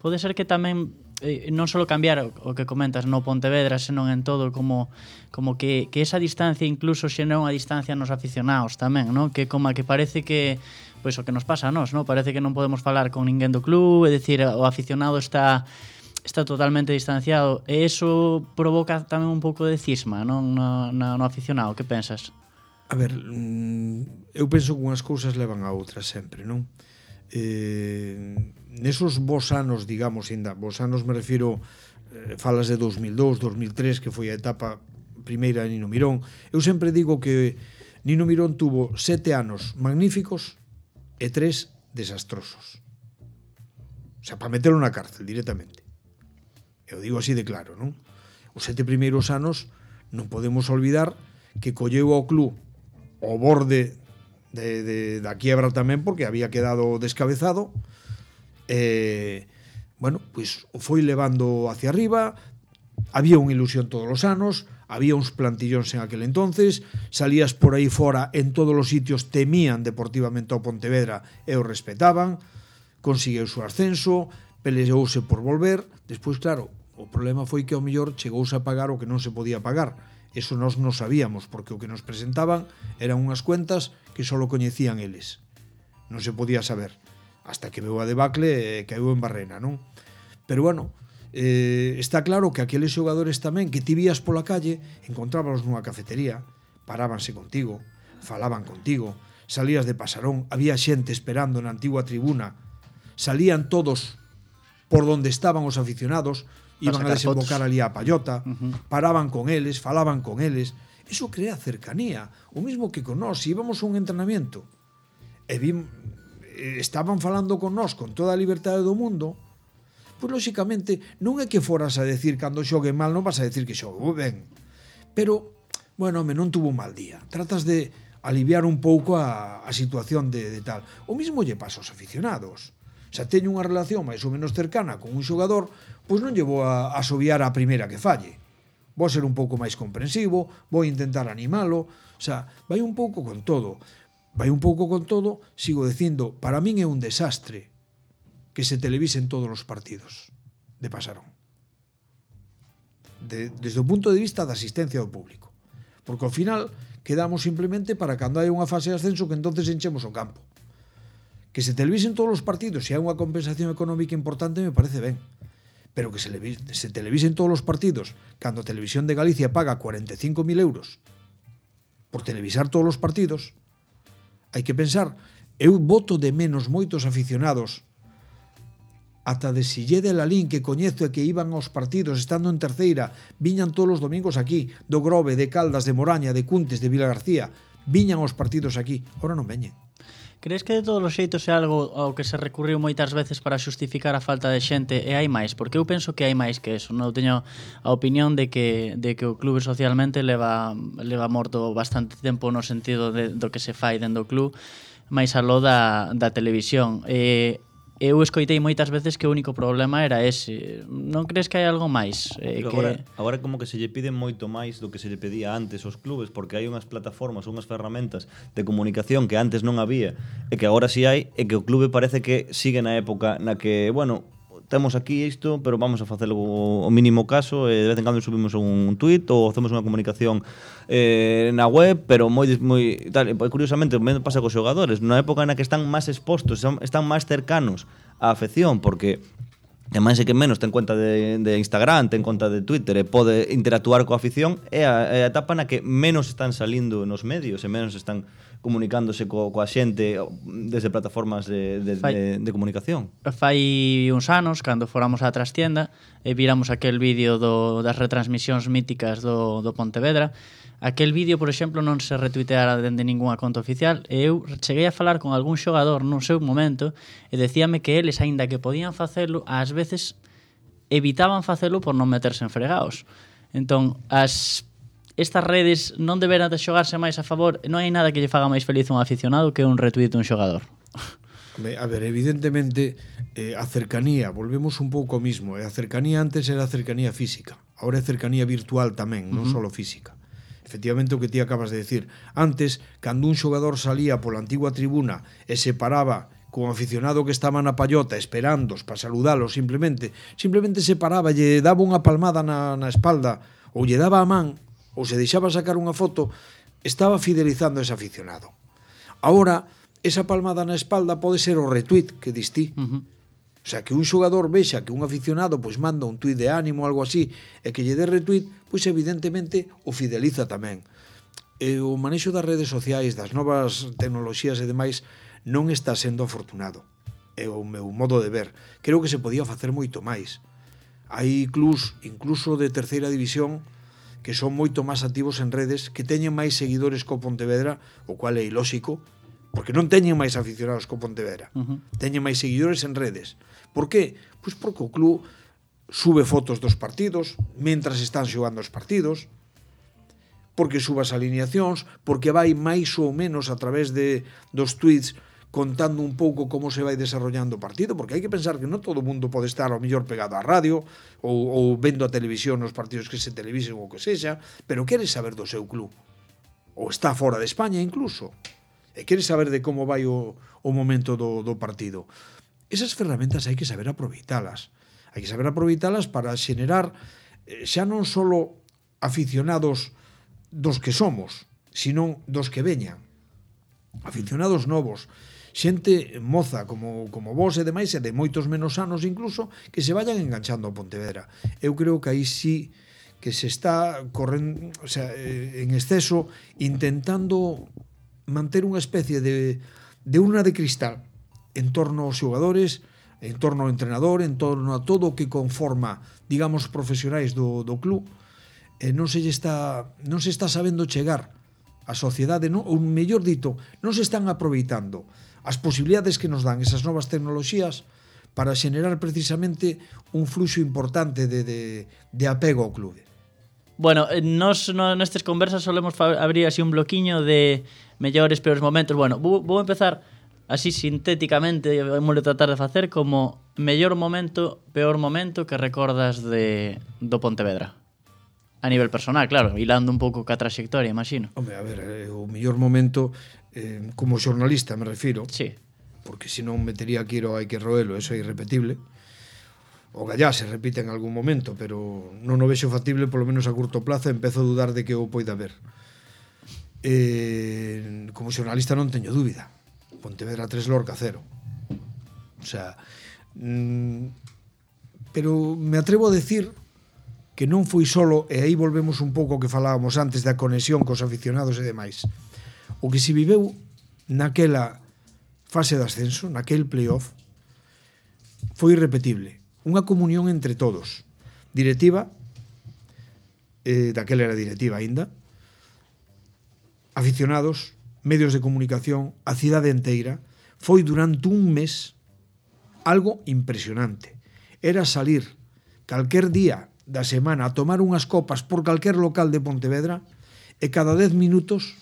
Pode ser que tamén eh, non só cambiar o que comentas no Pontevedra, senón en todo, como como que, que esa distancia incluso xe non a distancia nos aficionados tamén, non? Que como que parece que pois o que nos pasa a nós, non? Parece que non podemos falar con ninguén do club, é dicir, o aficionado está está totalmente distanciado, e eso provoca tamén un pouco de cisma, non? No, no, no aficionado, que pensas? A ver, eu penso que unhas cousas levan a outras sempre, non? Eh, nesos bons anos, digamos, ainda, bons anos me refiro, eh, falas de dous mil dous, dous mil tres, que foi a etapa primeira de Nino Mirón. Eu sempre digo que Nino Mirón tuvo sete anos magníficos e tres desastrosos. O sea, para meterlo na cárcel directamente. Eu digo así de claro, non? Os sete primeiros anos non podemos olvidar que colleu ao club ao borde de, de, da quiebra tamén, porque había quedado descabezado. Eh, bueno, pois o foi levando hacia arriba. Había unha ilusión todos os anos, había uns plantillóns en aquel entonces, salías por aí fora, en todos os sitios temían deportivamente ao Pontevedra e o respetaban. Conseguiu o ascenso, peleouse por volver. Despois, claro, o problema foi que ao mellor chegouse a pagar o que non se podía pagar. Eso nós non sabíamos, porque o que nos presentaban eran unhas cuentas que só coñecían eles. Non se podía saber, hasta que veu a debacle e caeu en Barrena, non? Pero bueno, eh, está claro que aqueles xogadores tamén que ti vías pola calle, encontrábalos nunha cafetería, parábanse contigo, falaban contigo, salías de pasarón, había xente esperando na antigua tribuna, salían todos por donde estaban os aficionados, iban a desembocar ali a Pallota, uh-huh. paraban con eles, falaban con eles. Eso crea cercanía. O mismo que con nós, si íbamos a un entrenamiento e vim, estaban falando con nós con toda a liberdade do mundo, pois lóxicamente non é que foras a decir cando xogue mal, non vas a decir que xogue ben. Pero, bueno, home, non tuvo un mal día. Tratas de aliviar un pouco a, a situación de, de tal. O mismo lle pasa aos aficionados. Se teño unha relación máis ou menos cercana con un xogador, pois non lle vou a asobiar a primeira que falle. Vou ser un pouco máis comprensivo, vou intentar animalo, o sea, vai un pouco con todo. Vai un pouco con todo, sigo dicindo, para min é un desastre que se televisen todos os partidos de Pasarón. De, desde o punto de vista da asistencia do público. Porque ao final quedamos simplemente para cando hai unha fase de ascenso que entonces enchemos o campo. Que se televisen todos os partidos e hai unha compensación económica importante me parece ben, pero que se, se televisen todos os partidos cando a Televisión de Galicia paga cuarenta e cinco mil euros por televisar todos os partidos, hai que pensar. Eu voto de menos moitos aficionados ata de Sillé de Lalín, que coñezo e que iban aos partidos estando en terceira, viñan todos os domingos aquí, do Grove, de Caldas, de Moraña, de Cuntes, de Vilagarcía, viñan aos partidos aquí, ora non veñen. Crees que de todos os xeitos é algo ao que se recurriu moitas veces para xustificar a falta de xente, e hai máis? Porque eu penso que hai máis que eso. Non teño a opinión de que de que o clube socialmente leva leva morto bastante tempo no sentido de, do que se fai dentro do club, máis aló da, da televisión. Eh, eu escoitei moitas veces que o único problema era ese. Non crees que hai algo máis? Eh, que... que... agora, agora como que se lle pide moito máis do que se lle pedía antes aos clubes, porque hai unhas plataformas, unhas ferramentas de comunicación que antes non había e que agora si hai, e que o clube parece que sigue na época na que, bueno, temos aquí isto, pero vamos a facelo o mínimo caso, e de vez en cando subimos un tuit ou facemos unha comunicación eh, na web, pero moi moi tal, e curiosamente me pasa cos xogadores, na época na que están máis expostos, están máis cercanos á afección, porque ten máis e que menos ten conta de, de Instagram, ten conta de Twitter e pode interactuar coa afición, é a, é a etapa na que menos están salindo nos medios e menos están comunicándose co, coa xente desde plataformas de, de, Fai, de, de comunicación. Fai uns anos, cando fóramos á trastienda e viramos aquel vídeo do, das retransmisións míticas do, do Pontevedra, aquel vídeo, por exemplo, non se retuiteara dende ninguna conta oficial, e eu cheguei a falar con algún xogador nun seu momento e decíame que eles, aínda que podían facelo, ás veces evitaban facelo por non meterse en fregaos. Entón, as estas redes non deberán de xogarse máis a favor, non hai nada que lle faga máis feliz un aficionado que un retweet dun xogador. A ver, evidentemente eh, a cercanía, volvemos un pouco ao mismo, eh, a cercanía antes era a cercanía física, agora é cercanía virtual tamén, non uh -huh. só física. Efectivamente, o que ti acabas de decir, antes, cando un xogador salía pola antigua tribuna e se paraba con aficionado que estaba na pallota esperándos para saludalos, simplemente simplemente se paraba, lle daba unha palmada na, na espalda ou lle daba a man, ou se deixaba sacar unha foto, estaba fidelizando a ese aficionado. Ahora, esa palmada na espalda pode ser o retweet que distí. Uh -huh. O sea, que un xogador vexa que un aficionado pois manda un tuit de ánimo ou algo así e que lle dé retweet, pois evidentemente o fideliza tamén. E o manexo das redes sociais, das novas tecnoloxías e demais non está sendo afortunado. É o meu modo de ver. Creo que se podía facer moito máis. Hai clubs, incluso de terceira división, que son moito máis activos en redes, que teñen máis seguidores co Pontevedra, o cual é ilóxico, porque non teñen máis aficionados co Pontevedra. Uh -huh. Teñen máis seguidores en redes. Por qué? Pois porque o club sube fotos dos partidos, mentras están xogando os partidos, porque sube as alineacións, porque vai máis ou menos a través de dos tweets contando un pouco como se vai desarrollando o partido, porque hai que pensar que non todo o mundo pode estar ao mellor pegado á radio ou, ou vendo a televisión nos partidos que se televisen ou que sexa, pero quere saber do seu club, ou está fora de España incluso, e quere saber de como vai o, o momento do, do partido. Esas ferramentas hai que saber aproveitalas, hai que saber aproveitalas para xenerar xa non só aficionados dos que somos, sino dos que veñan, aficionados novos, xente moza como, como vos e demais, e de moitos menos anos incluso, que se vayan enganchando ao Pontevedra. Eu creo que aí sí que se está correndo, o sea, en exceso, intentando manter unha especie de, de urna de cristal en torno aos xogadores, en torno ao entrenador, en torno a todo o que conforma, digamos, profesionais do, do club, e non se está, non se está sabendo chegar a sociedade, non, ou mellor dito, non se están aproveitando as posibilidades que nos dan esas novas tecnoloxías para xenerar precisamente un fluxo importante de, de, de apego ao clube. Bueno, nos no, nestes conversas solemos abrir así un bloquiño de mellores, peores momentos. Bueno, vou, vou empezar así sintéticamente, vamos a tratar de facer como mellor momento, peor momento que recordas de do Pontevedra. A nivel personal, claro, hilando un pouco ca trayectoria, imagino. Home, a ver, eh, o mellor momento eh, como xornalista, me refiro. Sí. Porque se non metería aquí o hai que roelo, eso é irrepetible. O Gallá se repite en algún momento, pero non o vexo factible, polo menos a curto plazo, empezo a dudar de que o poida ver. Eh, como xornalista non teño dúbida. Pontevedra tres, Lorca cero. O sea, mm, pero me atrevo a decir que non foi solo, e aí volvemos un pouco ao que falábamos antes da conexión cos aficionados e demais. O que se viveu naquela fase de ascenso, naquel playoff, foi irrepetible. Unha comunión entre todos. Directiva, eh, daquela era directiva aínda, aficionados, medios de comunicación, a cidade enteira. Foi durante un mes algo impresionante. Era salir calquer día da semana a tomar unhas copas por calquer local de Pontevedra e cada dez minutos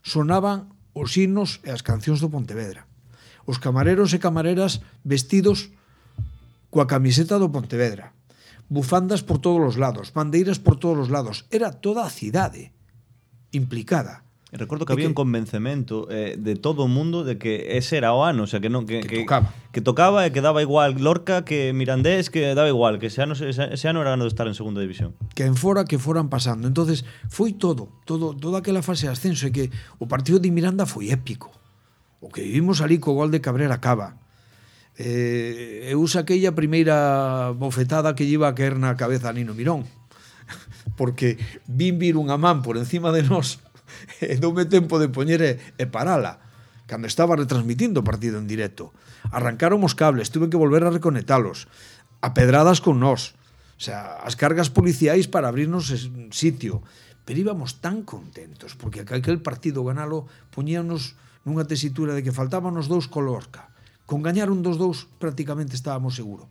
sonaban os himnos e as cancións do Pontevedra. os camareros e camareras vestidos coa camiseta do Pontevedra, bufandas por todos os lados, bandeiras por todos os lados, era toda a cidade implicada. E recordo que había que, un convencemento eh, de todo o mundo de que ese era o ano, o sea, que non que, que, que tocaba. Que tocaba e que daba igual Lorca que Mirandés, que daba igual, que ese ano, ese, ese ano era ganado estar en segunda división. Que en fora que foran pasando. Entonces, foi todo, todo toda aquela fase de ascenso, e que o partido de Miranda foi épico. O que vivimos ali co gol de Cabrera Cava. Eh, eu saquei a primeira bofetada que lleva a caer na cabeza a Nino Mirón. Porque vin vir unha man por encima de nós e doume tempo de poñer e, e parala cando estaba retransmitindo o partido en directo. Arrancaron os cables, tuve que volver a reconectalos a pedradas con nós, o sea, as cargas policiais para abrirnos sitio, pero íbamos tan contentos porque aquel partido ganalo poñíanos nunha tesitura de que faltaban os dous co Lorca. Con gañar un dos dous prácticamente estábamos seguro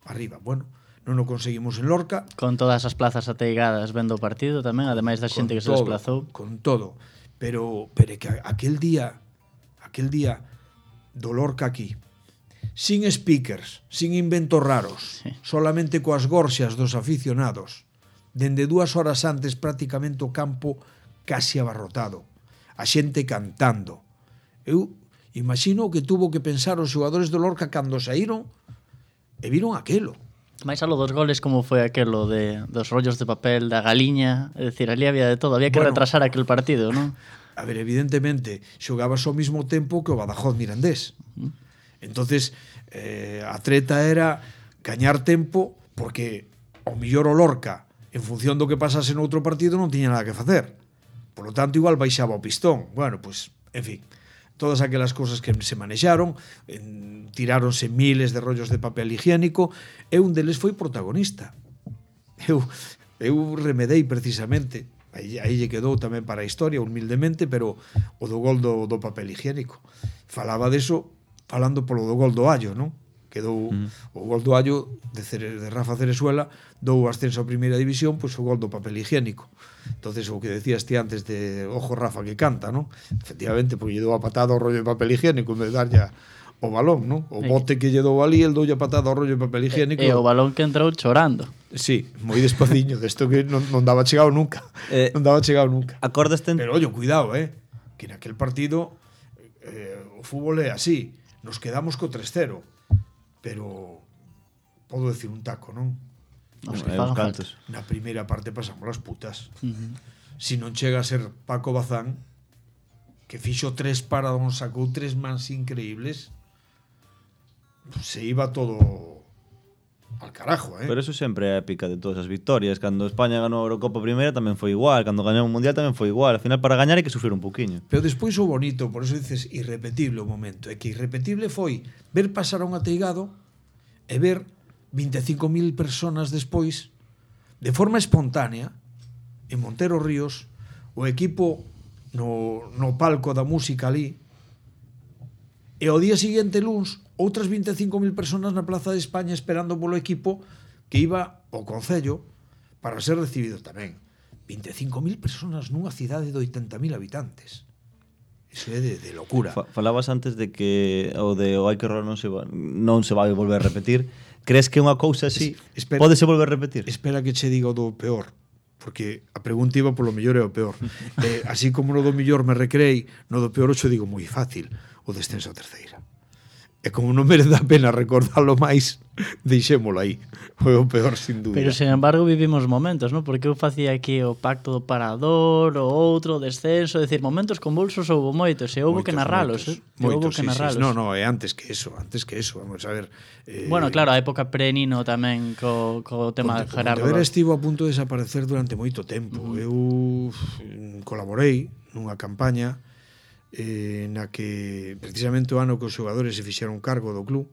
arriba. Bueno, non o conseguimos en Lorca. Con todas as plazas ateigadas vendo o partido tamén, ademais da xente que se todo, desplazou. Con todo. Pero, pero que aquel día, aquel día do Lorca aquí, sin speakers, sin inventos raros, sí. Solamente coas gorxas dos aficionados, dende dúas horas antes prácticamente o campo casi abarrotado, a xente cantando. Eu imagino que tuvo que pensar os xogadores do Lorca cando saíron e viron aquelo. Mais a lo dos goles, como foi aquelo de, dos rollos de papel, da galiña, é dicir, ali había de todo, había que bueno, retrasar aquel partido, non? A ver, evidentemente, xogabas ao mismo tempo que o Badajoz Mirandés. Uh -huh. Entonces, eh, a treta era gañar tempo, porque ao millor o Lorca, en función do que pasase no outro partido, non tiña nada que facer. Por lo tanto, igual baixaba o pistón. Bueno, pues, en fin, todas aquelas cosas que se manexaron, en, tiráronse miles de rollos de papel higiénico, e un deles foi protagonista. Eu, eu remedei precisamente, aí, aí lle quedou tamén para a historia, humildemente, pero o do gol do, do papel higiénico. Falaba deso falando polo do gol do Allo, non? Quedou mm. o gol do Allo de, Cere, de Rafa Cerezuela, dou o ascenso a primeira división, pois pues, o gol do papel higiénico. Entonces, o que decías ti antes de ojo Rafa que canta, ¿no? Efectivamente, porque lle dou a patada ao rollo de papel higiénico en vez de darlle o balón, ¿no? O bote que lle dou ali, el doulle a patada ao rollo de papel higiénico. E, e o balón que entrou chorando. Sí, moi despaciño, desto que non, non daba chegado nunca. Eh, non daba chegado nunca. Acordaste en... Pero, oye, cuidado, eh? Que naquel partido eh, o fútbol é así. Nos quedamos co tres cero. Pero podo decir un taco, non? Os que fagan falta. Na primeira parte pasamos as putas. Uh -huh. Si non chega a ser Paco Bazán, que fixo tres paradóns, sacou tres mans increíbles, se iba todo al carajo, eh? Pero eso sempre é épica de todas as victorias. Cando España ganou a Eurocopa primeira tamén foi igual, cando gañou o Mundial tamén foi igual. Al final, para gañar hai que sufrir un poquinho. Pero despois o bonito, por eso dices irrepetible o momento, é que irrepetible foi ver pasar a un ateigado e ver vinte e cinco mil personas despois, de forma espontánea, en Montero Ríos, o equipo no, no palco da música ali, e ao día seguinte, luns, outras vinte e cinco mil personas na Plaza de España esperando polo equipo que iba ao Concello para ser recibido tamén. vinte e cinco mil personas nunha cidade de oitenta mil habitantes. Iso é de, de locura. Fa, falabas antes de que o de o hai que errar non se va, non se vai volver a repetir. Crees que unha cousa así es, espera, pode se volver a repetir? Espera que che diga o do peor, porque a pregunta iba polo mellor e o peor. eh, así como no do mellor me recreei, no do peor xo digo moi fácil, o descenso a terceira. E como non merece a pena recordalo máis, deixémolo aí. Foi o peor, sin dúbida. Pero, sin embargo, vivimos momentos, ¿no? Porque eu facía aquí o pacto do parador, o outro, o descenso, decir, momentos convulsos houbo moitos, e houbo que narralos, eh? Moitos, houbo que sí, narralos. Sí, no, no, é antes que eso, antes que eso, vamos a ver. Eh, bueno, claro, a época pre-Nino tamén co, co tema de Gerardo. Pontevedra estivo a punto de desaparecer durante moito tempo. Uh -huh. Eu colaborei nunha campaña eh, na que precisamente o ano que os xogadores se fixeron cargo do club,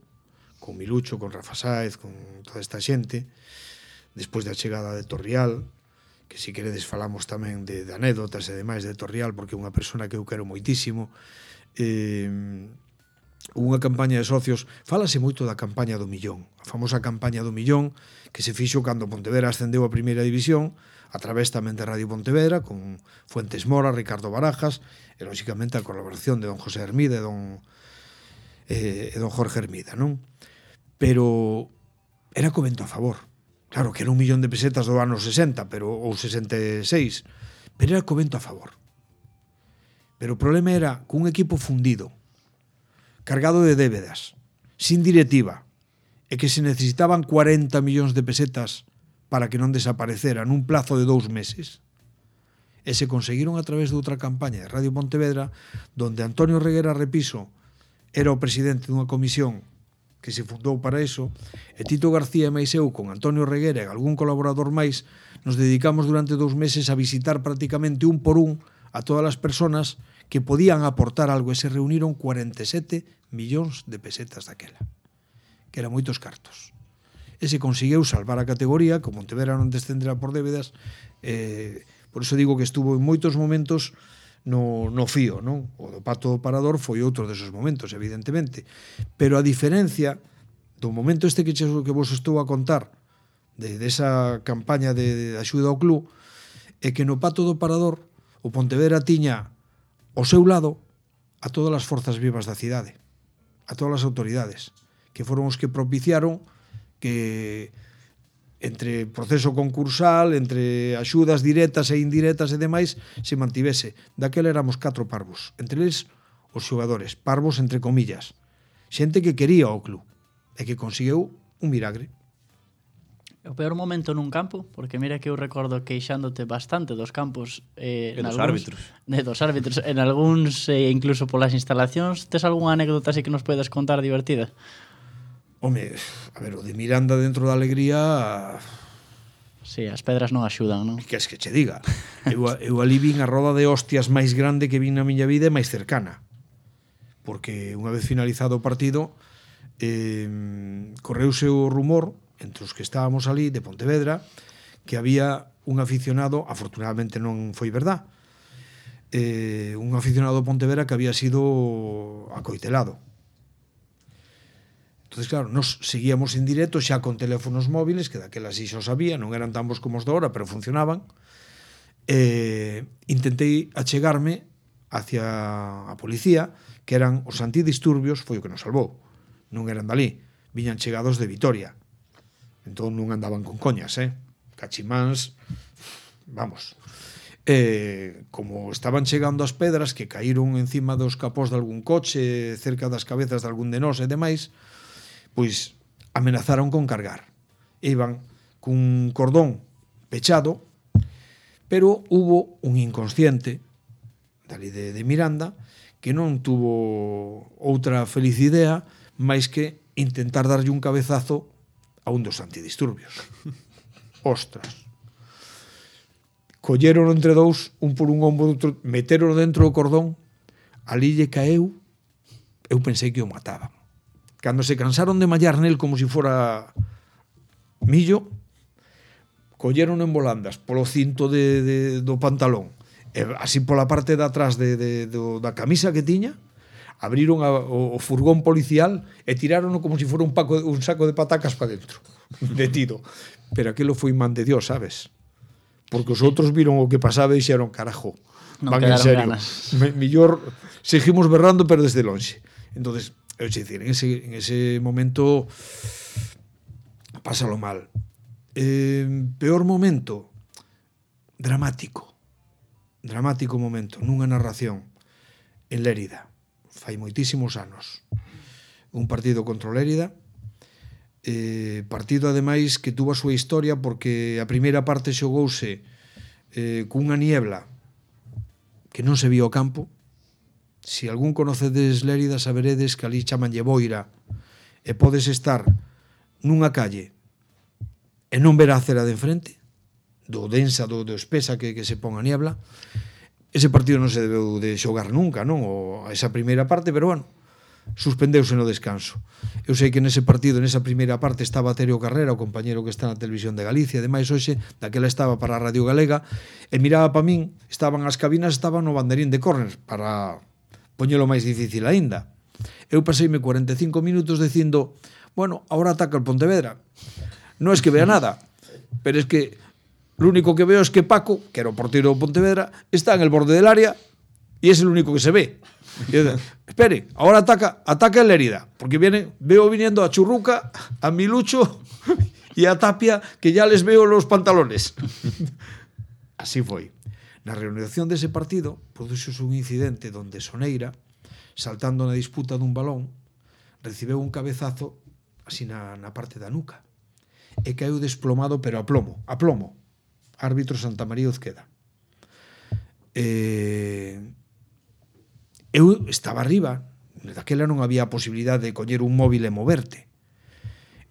con Milucho, con Rafa Sáez, con toda esta xente, despois da chegada de Torrial, que si queredes falamos tamén de, de anécdotas e demais de Torrial, porque é unha persona que eu quero moitísimo. Eh, unha campaña de socios, fálase moito da campaña do millón, a famosa campaña do millón, que se fixo cando Pontevedra ascendeu a primeira división, a través tamén de Radio Pontevedra, con Fuentes Mora, Ricardo Barajas, e lóxicamente a colaboración de don José Hermida e don e, e don Jorge Hermida, non? Pero era co vento a favor. Claro que era un millón de pesetas do ano sesenta, pero ou sesenta e seis, pero era co vento a favor. Pero o problema era que un equipo fundido, cargado de débedas, sin directiva, e que se necesitaban cuarenta millóns de pesetas para que non desaparecera nun plazo de dous meses, e se conseguiron a través de outra campaña de Radio Pontevedra, donde Antonio Reguera Repiso era o presidente dunha comisión que se fundou para eso, e Tito García e máis eu, con Antonio Reguera e algún colaborador máis, nos dedicamos durante dous meses a visitar prácticamente un por un a todas as personas que podían aportar algo, e se reuniron cuarenta e sete millóns de pesetas daquela, que eran moitos cartos. E se conseguiu salvar a categoría, como Pontevedra non descenderá por débedas, eh, por iso digo que estuvo en moitos momentos no, no fío, non? O do Pato do Parador foi outro desos momentos, evidentemente. Pero a diferencia do momento este que, che, que vos estou a contar, de, de esa campaña de, de axuda ao club, é que no Pato do Parador o Pontevedra tiña ao seu lado a todas as forzas vivas da cidade, a todas as autoridades, que foron os que propiciaron que entre proceso concursal, entre axudas directas e indirectas e demais, se mantivese. Daquela éramos catro parvos, entre eles os xogadores, parvos entre comillas, xente que quería o club e que conseguiu un milagre. O peor momento nun campo, porque mira que eu recordo queixándote bastante dos campos eh, e dos algúns, árbitros. De, dos árbitros, en algúns eh, incluso polas instalacións. Tes algunha anécdota así que nos podes contar divertida? Home, a ver, o de Miranda dentro da alegría... Sí, as pedras non axudan, non? Que es que che diga. Eu, eu ali vin a roda de hostias máis grande que vin na miña vida e máis cercana. Porque unha vez finalizado o partido, eh, correuse o rumor, entre os que estábamos ali, de Pontevedra, que había un aficionado, afortunadamente non foi verdad, eh, un aficionado de Pontevedra que había sido acoitelado. Entonces, claro, nos seguíamos en directo xa con teléfonos móviles, que daquelas xo sabía, non eran tan bons como os de ahora, pero funcionaban. Eh, intentei achegarme hacia a policía, que eran os antidisturbios, foi o que nos salvou. Non eran dali, viñan chegados de Vitoria. Entón non andaban con coñas, eh? Cachimáns, vamos. Eh, como estaban chegando as pedras que caíron encima dos capós de algún coche, cerca das cabezas de algún de nós e demais, pois amenazaron con cargar. Iban cun cordón pechado, pero hubo un inconsciente dali de, de Miranda que non tuvo outra feliz idea máis que intentar darlle un cabezazo a un dos antidisturbios. Ostras. Colleron entre dous, un por un ombro, outro, meteron dentro do cordón, ali lle caeu, eu pensei que o mataban. Cando se cansaron de mallar nel como se si fora millo, colleron en volandas polo cinto de, de, do pantalón, e así pola parte de atrás de, de, de, da camisa que tiña, abriron a, o, o furgón policial e tiraron como se si fora un, paco, un saco de patacas para dentro, detido. Pero aquilo foi man de Dios, sabes? Porque os outros viron o que pasaba e dixeron, carajo, non van en serio. Ganas. Me, millor seguimos berrando, pero desde lonxe. Entonces, é dicir, en ese, en ese momento pásalo mal. Eh, peor momento, dramático. Dramático momento, nunha narración en Lérida. Fai moitísimos anos. Un partido contra o Lérida. Eh, partido, ademais, que tuvo a súa historia porque a primeira parte xogouse eh, cunha niebla que non se vio o campo. Si algún conocedes Lérida, saberedes que ali chamanlle boira e podes estar nunha calle e non ver a acera de enfrente, do densa, do, do espesa que, que se pon a niebla. Ese partido non se debeu de xogar nunca, non? O, esa primeira parte, pero bueno, suspendeuse no descanso. Eu sei que nese partido, nesa primeira parte, estaba Terio Carrera, o compañero que está na Televisión de Galicia, ademais hoxe, daquela estaba para a Radio Galega, e miraba para min, estaban as cabinas, estaban no banderín de córner, para poñelo máis difícil aínda. Eu paseime cuarenta e cinco minutos dicindo, bueno, ahora ataca el Pontevedra. Non es que vea nada, pero es que lo único que veo es que Paco, que era o porteiro do Pontevedra, está en el borde del área y es el único que se ve. Y yo, espere, ahora ataca, ataca en la herida, porque viene, veo viniendo a Churruca, a Milucho y a Tapia, que ya les veo los pantalones. Así foi. Na reanudación dese partido, produxose un incidente donde Soneira, saltando na disputa dun balón, recibeu un cabezazo así na, na parte da nuca e caeu desplomado, pero a plomo, a plomo. Árbitro Santa María Uzqueda. Eh, eu estaba arriba, daquela non había posibilidade de coller un móvil e moverte.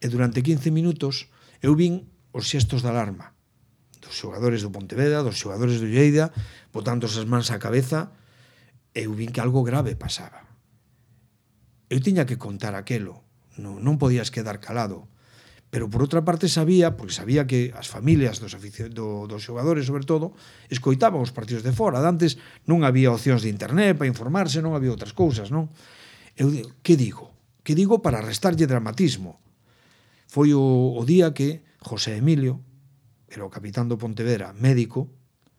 E durante quince minutos eu vin os xestos de alarma dos xogadores do Pontevedra, dos xogadores do Lleida, botando as mans á cabeza, e eu vin que algo grave pasaba. Eu tiña que contar aquelo, non, non podías quedar calado. Pero por outra parte sabía, porque sabía que as familias dos, do, dos xogadores, sobre todo, escoitaban os partidos de fora. Antes non había opcións de internet para informarse, non había outras cousas, non? Eu digo, que digo? Que digo para restarlle dramatismo? Foi o, o día que José Emilio, era o capitán do Pontevedra, médico,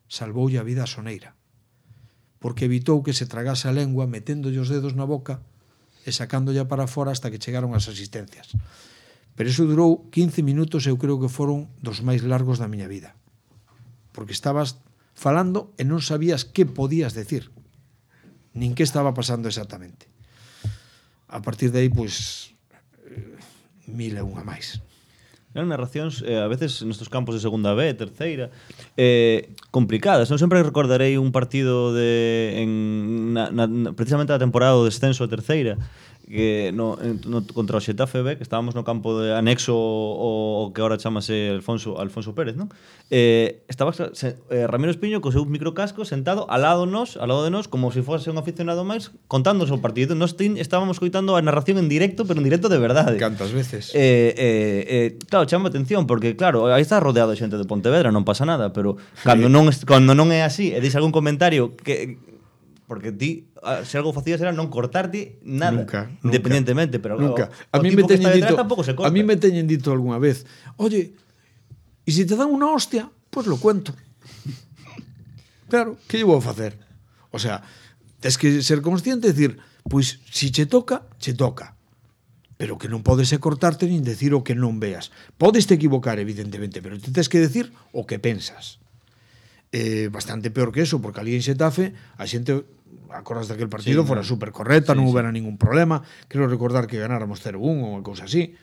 salvoulle a vida a Soneira, porque evitou que se tragase a lengua meténdolle os dedos na boca e sacándolla para fora hasta que chegaron as asistencias. Pero iso durou quince minutos, eu creo que foron dos máis largos da miña vida. Porque estabas falando e non sabías que podías decir, nin que estaba pasando exactamente. A partir de aí, pois, mil e unha máis. Eran narracións, eh, a veces nestos campos de segunda B, terceira, eh, complicadas. Non sempre recordarei un partido de en, na, na, precisamente a temporada do descenso a terceira, que no, no, contra o Xetafe B, que estábamos no campo de anexo o, o que ahora chamase Alfonso, Alfonso Pérez, non? Eh, estaba se, eh, Ramiro Espiño co seu microcasco sentado al lado nos, al lado de nos, como se si fose un aficionado máis, contándonos o partido. Nos tin, estábamos coitando a narración en directo, pero en directo de verdade. Cantas veces. Eh, eh, eh, claro, chama atención, porque claro, aí está rodeado de xente de Pontevedra, non pasa nada, pero cando non, cando non é así, e dis algún comentario que... Porque ti, se algo facías era non cortarte nada, nunca, independientemente, pero nunca. O, a mí o me teñen dito, tampouco se corta. a mí me teñen dito algunha vez, oye, e se te dan unha hostia, pues lo cuento. Claro, que lle vou facer? O sea, tens que ser consciente e decir, pois, si che toca, che toca. Pero que non podes é cortarte nin decir o que non veas. Podes te equivocar, evidentemente, pero te tens que decir o que pensas. Eh, bastante peor que eso, porque ali en Xetafe a xente, acordas daquele partido, sí, fora super correcta, sí, non houbera sí. ningún problema. Creo recordar que ganáramos cero uno ou unha cousa así,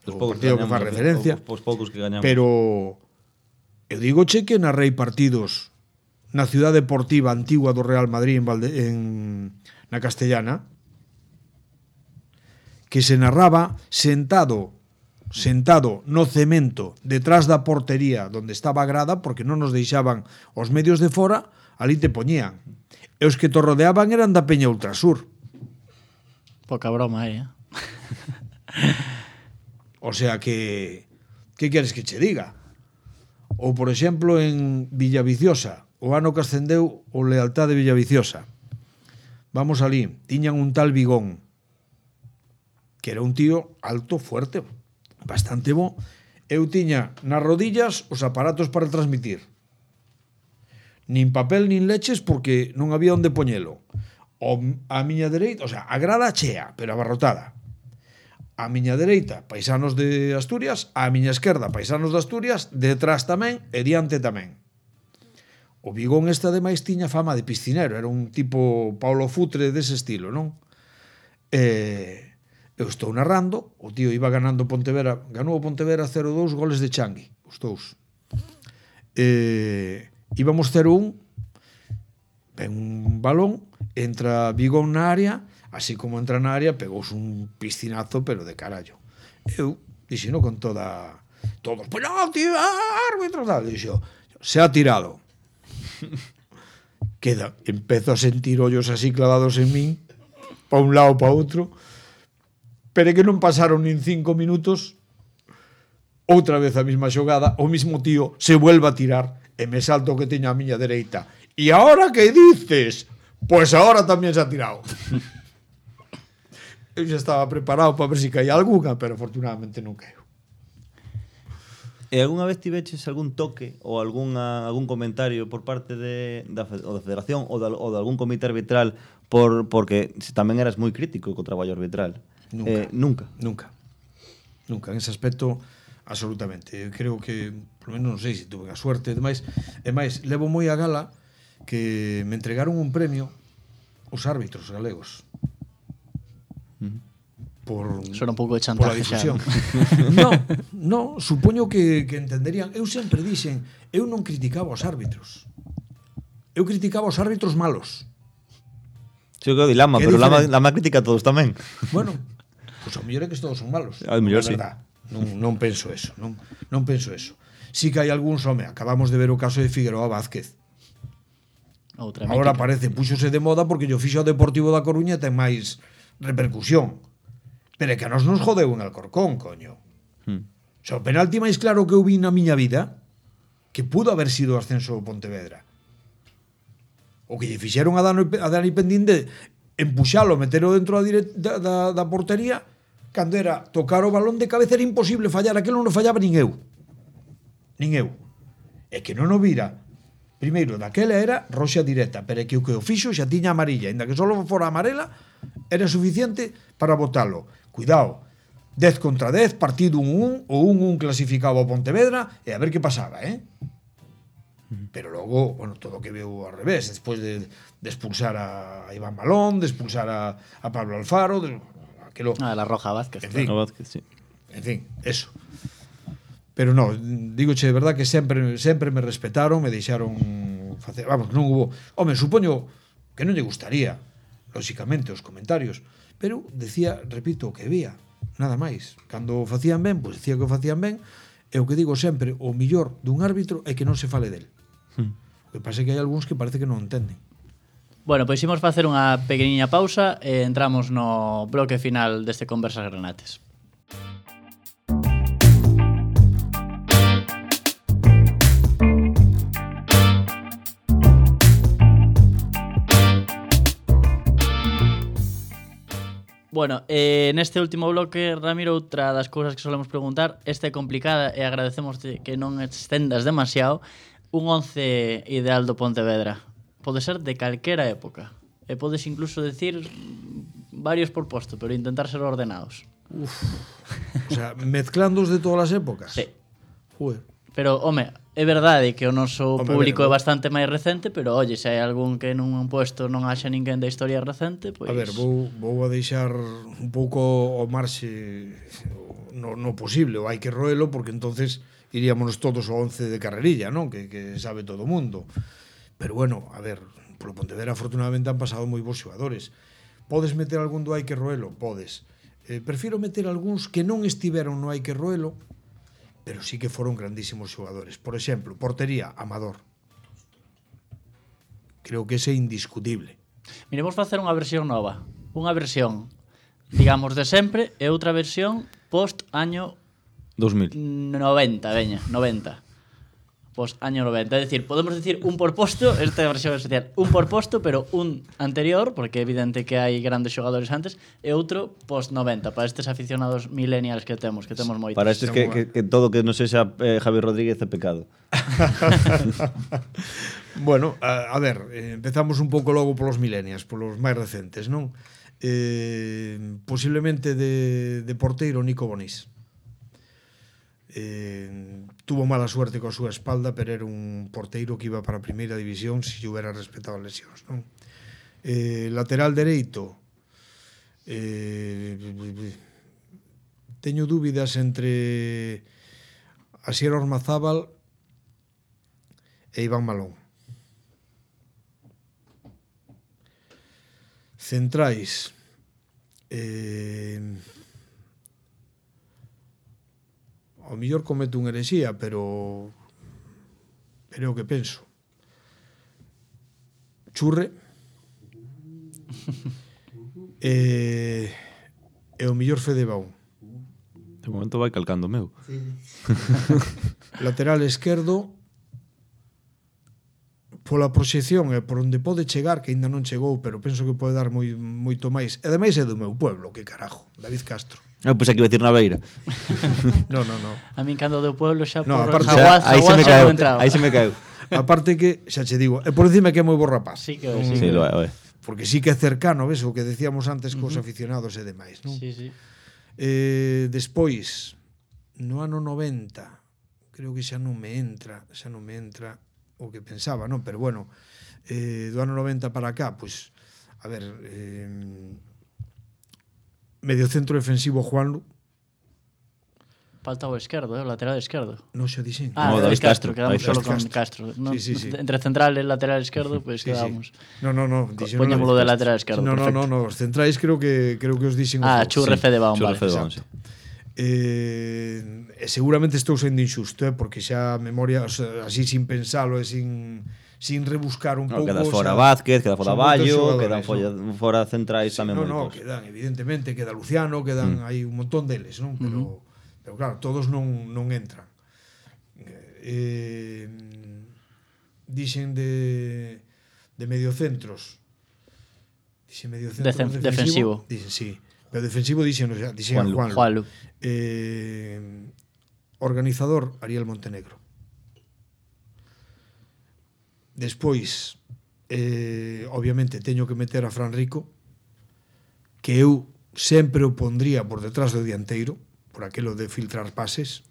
o partido que fa referencia, os poucos que gañamos. Pero eu digo che que narrei partidos na Ciudad Deportiva Antigua do Real Madrid en, Valde, en na Castellana, que se narraba sentado sentado no cemento detrás da portería donde estaba a grada, porque non nos deixaban os medios de fora, ali te poñían. E os que te rodeaban eran da Peña Ultrasur. Poca broma aí, eh? O sea que... Que queres que che diga? Ou, por exemplo, en Villaviciosa, o ano que ascendeu o Lealtad de Villaviciosa. Vamos ali, tiñan un tal Vigón, que era un tío alto, fuerte, bastante bo. Eu tiña nas rodillas os aparatos para transmitir. Nin papel nin leches porque non había onde poñelo. O, a miña dereita, o sea, a grada chea, pero abarrotada. A miña dereita, paisanos de Asturias, a miña esquerda, paisanos de Asturias, detrás tamén e diante tamén. O Vigón este ademais tiña fama de piscinero, era un tipo Paulo Futre dese estilo, non? E... eu estou narrando, o tío iba ganando Pontevedra, ganou o Pontevedra cero dous, goles de Changui, os dous. Eh, íbamos cero un, ven un balón, entra Vigón na área, así como entra na área, pegouse un piscinazo, pero de carallo. Eu dixeno con toda... Todos, penalti, árbitro, tal. Dixo, se ha tirado. Queda, empezo a sentir ollos así clavados en min, pa un lado, pa outro, pero que non pasaron nin cinco minutos, outra vez a mesma xogada, o mismo tío se vuelve a tirar e me salto que teño a miña dereita. E ahora que dices? Pues ahora tamén se ha tirado. Eu xa estaba preparado para ver se si caía alguna, pero afortunadamente non caeu. E algunha vez tiveches algún toque ou algunha, algún comentario por parte de, da, ou da Federación ou de, ou de algún comité arbitral por, porque tamén eras moi crítico co traballo arbitral? Nunca. Eh, nunca. Nunca. Nunca. En ese aspecto, absolutamente. Eu creo que, por lo menos non sei se tuve a suerte. E máis, e máis, levo moi a gala que me entregaron un premio os árbitros galegos. Uh-huh. Por, Por, Son un pouco de por la chantaje difusión. xa. No, no, supoño que, que entenderían. Eu sempre dixen, eu non criticaba os árbitros. Eu criticaba os árbitros malos. Sí, o que di Lama, Que pero Lama, diferente. Lama critica a todos tamén. Bueno, pois pues, ao mellor é que todos son malos. Ao mellor Na sí. verdad. Non, non penso eso, non, non penso eso. Sí que hai algúns, home, acabamos de ver o caso de Figueroa Vázquez. Outra Ahora mítica. parece, púxose de moda porque yo fixo o Deportivo da Coruña e ten máis repercusión. Pero é que a nos nos jodeu en Alcorcón, coño. Hmm. O sea, o penalti máis claro que eu vi na miña vida que pudo haber sido o ascenso do Pontevedra. O que lle fixeron a Dani, a Dani Pendín de empuxalo, metelo dentro da, direct, da, da, da portería, cando era tocar o balón de cabeza era imposible fallar, aquilo non fallaba nin eu. Nin eu. É que non o vira. Primeiro, daquela era roxa directa, pero é que o que o fixo xa tiña amarilla, ainda que só fora amarela, era suficiente para botalo. Cuidado, dez contra dez, partido un un, o un un clasificado a Pontevedra, e a ver que pasaba, eh? Pero logo, bueno, todo o que veu ao revés, despois de, de expulsar a Iván Balón, de expulsar a, a Pablo Alfaro, de, aquilo, Ah, la Roja Vázquez. en fin, A Vázquez, sí. en fin, eso. Pero no, dígoche de verdad que sempre sempre me respetaron, me deixaron facer, vamos, non hubo, home, supoño que non lle gustaría, lóxicamente, os comentarios, pero decía, repito, o que vía, nada máis. Cando o facían ben, pois decía que o facían ben, e o que digo sempre, o millor dun árbitro é que non se fale del. Hmm. O que pasa é que hai algúns que parece que non entenden. Bueno, pois imos facer unha pequeniña pausa e entramos no bloque final deste Conversas Granates. Bueno, eh, neste último bloque, Ramiro, outra das cousas que solemos preguntar, esta é complicada e agradecemos que non estendas demasiado, un once ideal do Pontevedra. Pode ser de calquera época. E podes incluso decir varios por posto, pero intentar ser ordenados. Uf. O sea, mezclándoos de todas as épocas. Sí. Joder. Pero, home, é verdade que o noso Home, público ver, é bastante máis recente, pero, oye, se hai algún que nun puesto non haxa ninguén da historia recente, pois... A ver, vou, vou a deixar un pouco ao marxe no, no posible, o hai que roelo, porque entonces iríamos todos ao once de carrerilla, non? Que, que sabe todo o mundo. Pero bueno, a ver, polo Pontevedra afortunadamente han pasado moi bons xogadores. Podes meter algún do hai que roelo? Podes. Eh, prefiro meter algúns que non estiveron no hai que roelo, pero sí que foron grandísimos xogadores. Por exemplo, portería, Amador. Creo que ese é indiscutible. Miremos facer unha versión nova. Unha versión, digamos, de sempre e outra versión post año dos mil. noventa, veña, noventa. Post año noventa. É dicir, podemos decir un por posto, esta é a versión especial, un por posto, pero un anterior, porque é evidente que hai grandes xogadores antes, e outro post noventa, para estes aficionados millennials que temos, que temos moitos. Para estes que, que, que todo que non sexa eh, Javi Rodríguez é pecado. Bueno, a, a ver, eh, empezamos un pouco logo polos millennials, polos máis recentes, non? Eh, posiblemente de, de porteiro Nico Bonís. Eh, tuvo mala suerte coa súa espalda, pero era un porteiro que iba para a primeira división se si hubiera respetado as lesións, non? Eh, lateral dereito, eh, teño dúbidas entre Asier Ormazábal e Iván Malón. Centrais, eh, ao mellor cometo unha herexía, pero pero é o que penso. Churre e, e o mellor Fede Baún. De momento vai calcando o meu. Lateral esquerdo, pola proxección e por onde pode chegar, que aínda non chegou, pero penso que pode dar moi, moito máis. E ademais é do meu pueblo, que carajo, David Castro. Eu pensei que iba a decir Naveira. No, no, no. A min cando do pueblo xa No, por aparte- Jaguaz, Aí se Jaguaz me xa caeu. non entraba. Aí se me caeu. Aparte que, xa che digo, e por encima que é moi bo rapaz. Sí que sí, Sí, que- lo é, lo é. Porque sí que é cercano, ves, o que decíamos antes cos aficionados e demais, non? Sí, sí. Eh, despois, no ano noventa, creo que xa non me entra, xa non me entra o que pensaba, non? Pero bueno, eh, do ano noventa para acá, pois, a ver, eh, medio centro defensivo Juanlu, Falta o esquerdo, eh, o lateral esquerdo. non xa dixen. Ah, No, David David Castro, Castro, quedamos David solo con Castro. Castro. No, Sí, sí, sí. Entre central e lateral esquerdo, pois pues, quedamos. No, no, no, dixen Poñémolo de David Castro. lateral esquerdo, No, no, perfecto. no, no, os centrais creo que creo que os dixen Ah, os dous. Churre Fede Baum, Churre vale. Fede Baum, sí. Eh, e seguramente estou sendo injusto, eh, porque xa a memoria, o sea, así sin pensalo e sin sin rebuscar un No, pouco, queda o fora sea, Vázquez, queda fora son moitos Ballo, xogadores, quedan fora, fora centrais tamén no, no, moitos. quedan, evidentemente, queda Luciano, quedan, mm. hai un montón deles, non? Pero, uh-huh. pero claro, todos non, non entran. Eh, dixen de, de mediocentros. Dixen mediocentro Decen- defensivo. defensivo. Dixen, sí. Pero defensivo dixen, o sea, dixen Juanlu. Juanlu. Juanlu. Eh, organizador, Ariel Montenegro. Despois, eh, obviamente, teño que meter a Fran Rico, que eu sempre o pondría por detrás do dianteiro, por aquelo de filtrar pases.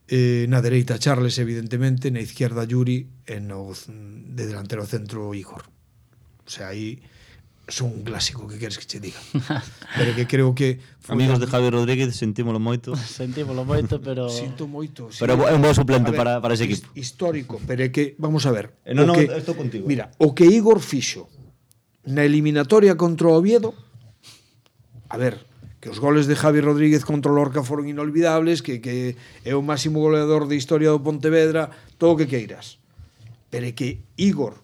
Eh, na dereita Charles, evidentemente, na izquierda Yuri e no de delantero centro Igor. O sea, aí son un clásico, que queres que che diga. Pero que creo que foi Amigos a- de Javi Rodríguez, sentímolo moito. Sentímolo moito, pero Sinto moito. sí. Pero é un bo suplente A ver, para, para ese his- equipo. Histórico, pero é que, vamos a ver. Eh, non, o non, que, estou contigo. Mira, o que Igor fixo na eliminatoria contra o Oviedo, a ver, que os goles de Javi Rodríguez contra o Lorca foron inolvidables, que, que é o máximo goleador de historia do Pontevedra, todo o que queiras. Pero é que Igor,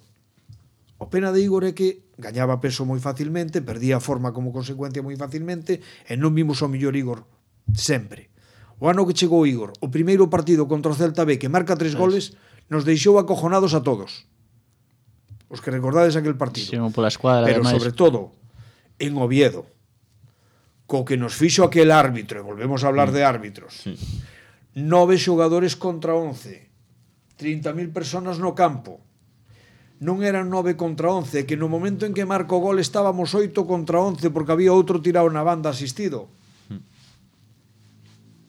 o pena de Igor é que gañaba peso moi facilmente, perdía a forma como consecuencia moi facilmente, e non vimos o mellor Igor sempre. O ano que chegou Igor, o primeiro partido contra o Celta B, que marca tres goles, nos deixou acojonados a todos. Os que recordades aquel partido. sí, pola escuadra, Pero ademais. sobre todo en Oviedo, co que nos fixo aquel árbitro, e volvemos a hablar de árbitros, Sí. nove xogadores contra once, trinta mil personas no campo, non eran nove contra once, que no momento en que marco o gol estábamos oito contra once porque había outro tirado na banda asistido.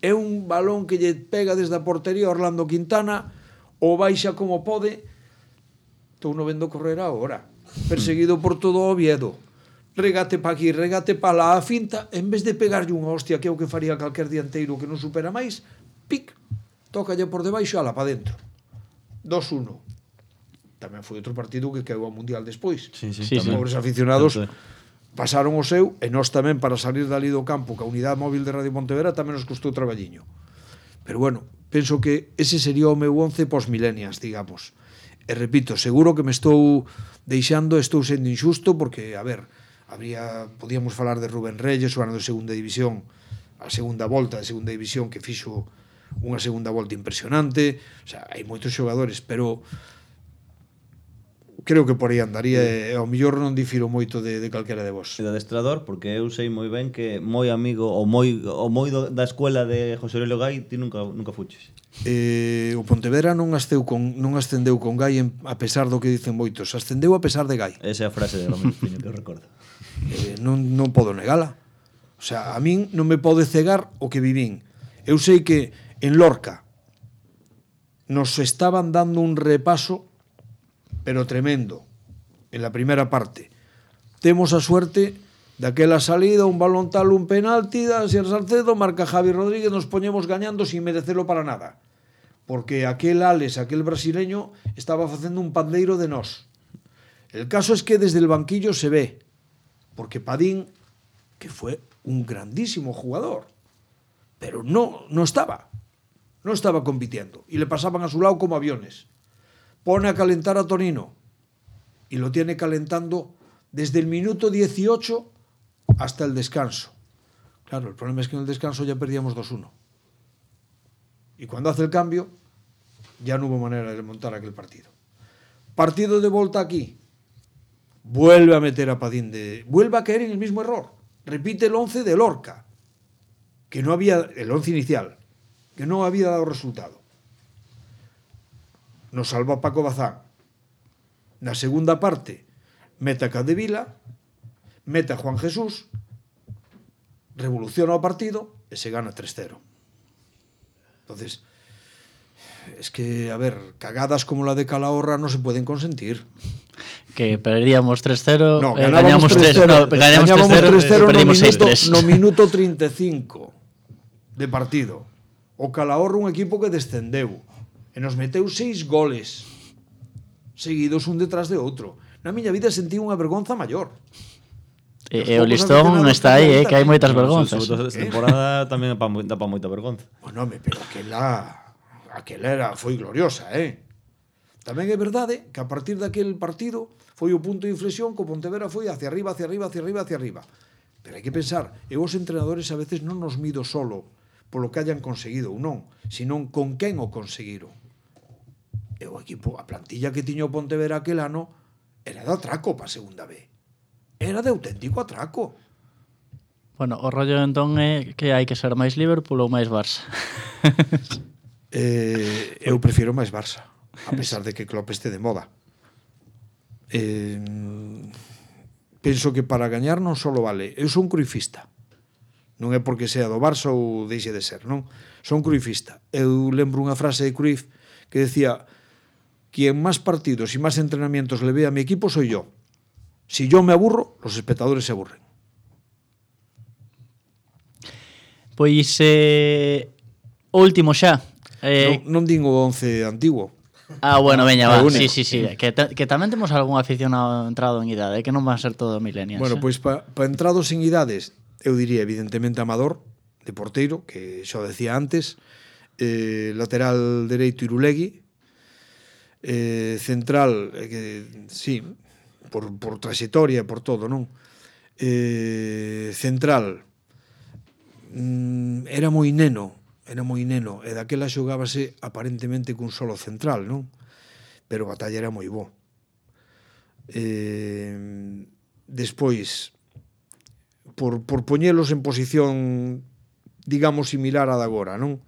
É un balón que lle pega desde a portería a Orlando Quintana, o baixa como pode, estou no vendo correr agora, perseguido por todo o Oviedo, regate pa aquí, regate pa lá, a finta, en vez de pegarlle unha hostia, que é o que faría calquer dianteiro que non supera máis, pic, tócalle por debaixo, ala pa dentro. dos uno. Tamén foi outro partido que caeu ao Mundial despois. Sí, sí, Sí, Os sí. pobres aficionados Tanto é. pasaron o seu, e nós tamén para salir dali do campo, que a unidade móvil de Radio Pontevedra tamén nos custou traballiño. Pero bueno, penso que ese sería o meu once pos-millennials, digamos. E repito, seguro que me estou deixando, estou sendo injusto, porque, a ver, habría, podíamos falar de Rubén Reyes, o ano de segunda división, a segunda volta de segunda división, que fixo unha segunda volta impresionante. O sea, hai moitos xogadores, pero creo que por aí andaría, e ao mellor non difiro moito de, de calquera de vos. de adestrador, porque eu sei moi ben que moi amigo ou moi o moi do, da escuela de José Aurelio Gai, ti nunca nunca fuches. Eh, o Pontevedra non asceu con non ascendeu con Gai en, a pesar do que dicen moitos, ascendeu a pesar de Gai. Esa é a frase de Romero Piño que eu recordo. Eh, non, non podo negala. O sea, a min non me pode cegar o que vivín. Eu sei que en Lorca nos estaban dando un repaso, pero tremendo, en la primera parte. Temos a suerte daquela salida, un balón tal, un penalti, da Asier Salcedo, marca Javi Rodríguez, nos poñemos gañando sin merecelo para nada. Porque aquel Alex, aquel brasileño, estaba facendo un pandeiro de nós. El caso es que desde el banquillo se ve, porque Padín, que fue un grandísimo jugador, pero no, no estaba, no estaba compitiendo, y le pasaban a su lado como aviones. Pone a calentar a Tonino, y lo tiene calentando desde el minuto dieciocho hasta el descanso. Claro, el problema es que en el descanso ya perdíamos dos uno. Y cuando hace el cambio, ya no hubo manera de remontar aquel partido. Partido de vuelta aquí. Vuelve a meter a Padín de... Vuelve a caer en el mismo error. Repite el once de Lorca. que no había, el once inicial, que non había dado resultado. Nos salva Paco Bazán. Na segunda parte, mete a Capdevila, mete a Juan Jesús, revoluciona o partido e se gana tres cero. Entonces, es que, a ver, cagadas como la de Calahorra no se pueden consentir. Que perdíamos tres cero, No, eh, ganábamos gañamos tres cero, no, gañamos tres cero, perdimos seis tres. No minuto treinta e cinco de partido. O Calahorra un equipo que descendeu e nos meteu seis goles seguidos un detrás de outro. Na miña vida sentí unha vergonza maior. E, e o listón está aí, eh, que hai moitas vergonzas. Sobre todo esta temporada tamén dá pa moita vergonza. Bueno, me, pero aquela aquela era, foi gloriosa, eh? Tamén é verdade que a partir daquel partido foi o punto de inflexión que o Pontevedra foi hacia arriba, hacia arriba, hacia arriba, hacia arriba. Pero hai que pensar, eu os entrenadores a veces non nos mido solo polo que hayan conseguido ou non, senón con quen o conseguiron. E o equipo, a plantilla que tiña o Pontevedra aquel ano era de atraco para a segunda B. Era de auténtico atraco. Bueno, o rollo entón é que hai que ser máis Liverpool ou máis Barça. eh, eu prefiro máis Barça, a pesar de que Klopp este de moda. Eh, penso que para gañar non só vale. Eu son cruifista. Non é porque sea do Barça ou deixe de ser, non? Son cruifista. Eu lembro unha frase de Cruyff que decía: quien más partidos y más entrenamientos le ve a mi equipo soy yo. Si yo me aburro, los espectadores se aburren. Pois eh, o último xa. Eh, non, non din o once antiguo. Ah, bueno, veña, va. Sí, sí, sí, sí. Que, ta, que tamén temos algún aficionado entrado en idade, que non van a ser todo millennials. Bueno, eh? pois para pa entrados en idades, eu diría evidentemente Amador, de porteiro, que xa o decía antes, eh, lateral dereito Irulegui, eh, central, eh, que, sí, por, por trayectoria, por todo, non? Eh, central, mm, era moi neno, era moi neno, e daquela xogábase aparentemente cun solo central, non? Pero a batalla era moi bo. Eh, despois, por, por poñelos en posición, digamos, similar a da agora, non?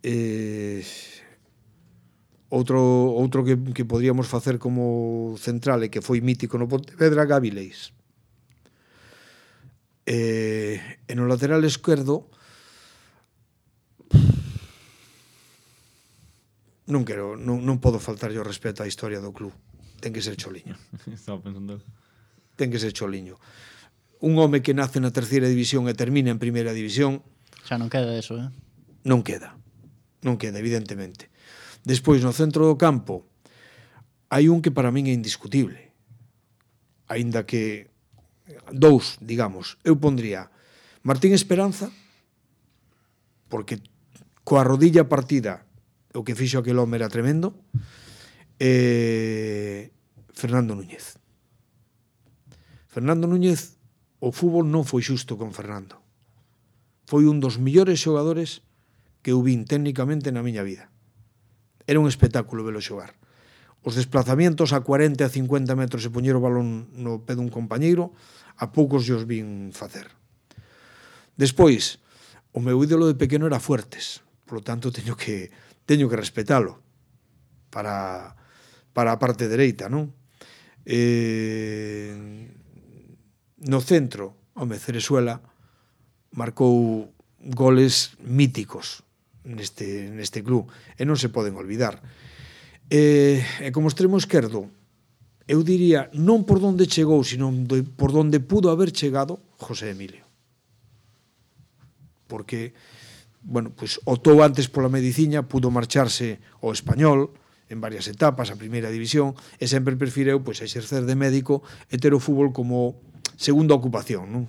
Eh, outro outro que, que podríamos facer como central e que foi mítico no Pontevedra, Gabi Leis. Eh, e no lateral esquerdo non quero, non, non podo faltar yo respeto á historia do club. Ten que ser Choliño. Estaba pensando. Ten que ser Choliño. Un home que nace na terceira división e termina en primeira división, xa non queda eso, eh? Non queda. Non queda, evidentemente. Despois, no centro do campo, hai un que para min é indiscutible. Aínda que dous, digamos, eu pondría Martín Esperanza, porque coa rodilla partida o que fixo aquel home era tremendo, e Fernando Núñez. Fernando Núñez, o fútbol non foi xusto con Fernando. Foi un dos millores xogadores que eu vin técnicamente na miña vida. Era un espectáculo velo xogar. Os desplazamientos a cuarenta a cincuenta metros e poñer o balón no pé dun compañeiro, a poucos os vin facer. Despois, o meu ídolo de pequeno era Fuertes, por lo tanto teño que teño que respetalo para para a parte dereita, non? Eh, no centro, home, Cerezuela marcou goles míticos neste, neste club e non se poden olvidar. E, e como extremo esquerdo, eu diría, non por donde chegou, sino por donde pudo haber chegado José Emilio. Porque, bueno, pues optou antes pola mediciña, pudo marcharse ao Español en varias etapas, a primeira división, e sempre prefireu pois, exercer de médico e ter o fútbol como segunda ocupación, non?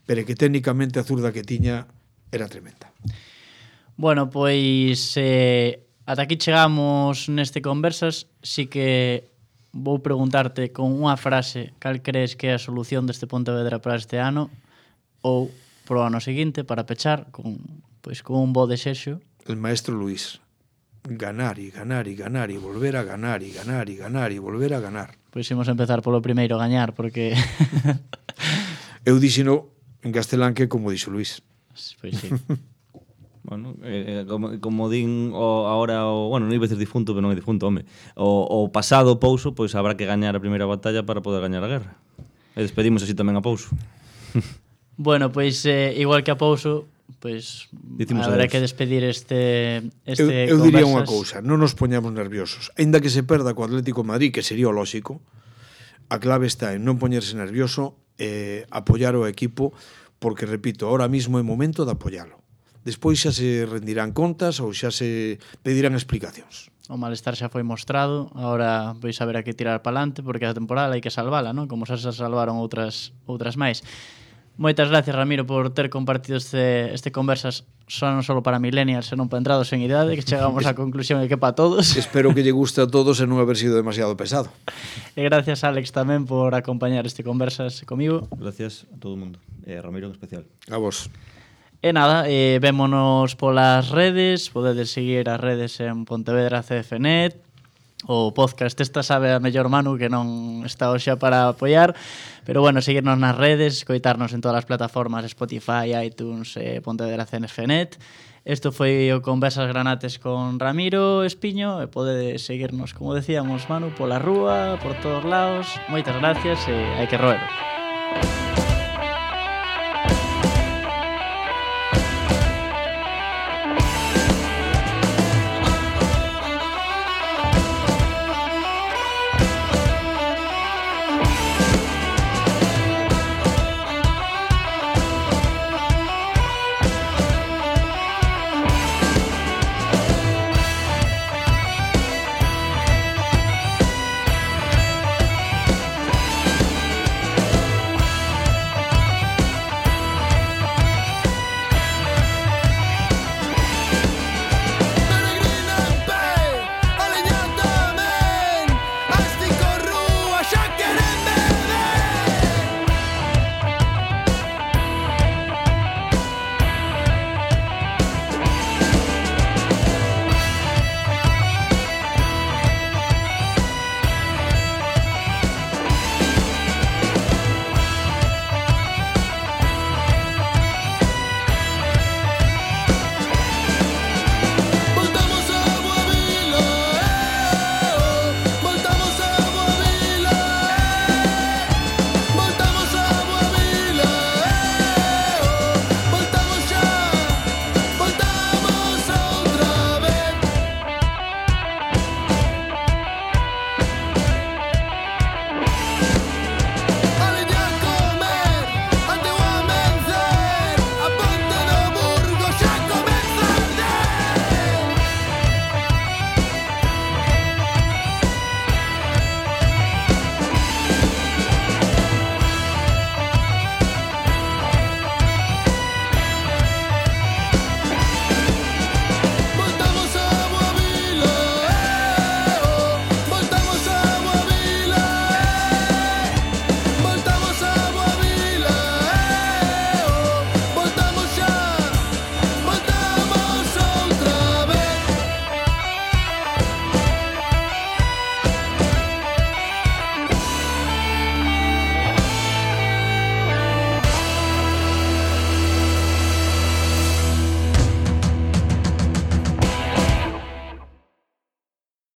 Pero que técnicamente a zurda que tiña era tremenda. Bueno, pois eh, ata aquí chegamos neste Conversas. Si que vou preguntarte con unha frase cal crees que é a solución deste Pontevedra para este ano ou pro ano seguinte para pechar con, pois, con un bo desexo. El maestro Luis. Ganar e ganar e ganar e volver a ganar e ganar e ganar e volver a ganar. Pois imos empezar polo primeiro, gañar, porque... Eu dixeno en castelán que como dixo Luis. Pois sí. Bueno, eh, como, como din o, ahora o, bueno, non iba a decir difunto, pero non é difunto, home. O, o pasado Pouso, pois habrá que gañar a primeira batalla para poder gañar a guerra. E despedimos así tamén a Pouso. Bueno, pois eh, igual que a Pouso, pois Dicimos habrá adeus. que despedir este este Eu, eu diría unha conversas. cousa, non nos poñamos nerviosos. Aínda que se perda co Atlético de Madrid, que sería o lóxico, a clave está en non poñerse nervioso e eh, apoiar o equipo, porque, repito, ahora mismo é momento de apoialo. Despois xa se rendirán contas ou xa se pedirán explicacións. O malestar xa foi mostrado, agora pois haberá que tirar para adelante porque a temporada hai que salvala, non? Como xa se salvaron outras outras máis. Moitas gracias, Ramiro, por ter compartido este, este conversas só non só para millennials, senón para entrados en idade, que chegamos á conclusión de que para todos. Espero que lle guste a todos e non haber sido demasiado pesado. E gracias, Alex, tamén por acompañar este conversas comigo. Gracias a todo o mundo. E a Ramiro en especial. A vos. E nada, eh, vémonos polas redes, podedes seguir as redes en Pontevedra C F Net, o podcast esta sabe a mellor Manu que non está hoxe para apoiar, pero bueno, seguirnos nas redes, coitarnos en todas as plataformas, Spotify, iTunes, eh, Pontevedra C F Net. Isto foi o Conversas Granates con Ramiro Espiño e podedes seguirnos, como decíamos, Manu, pola rúa, por todos lados. Moitas gracias e hai que roer.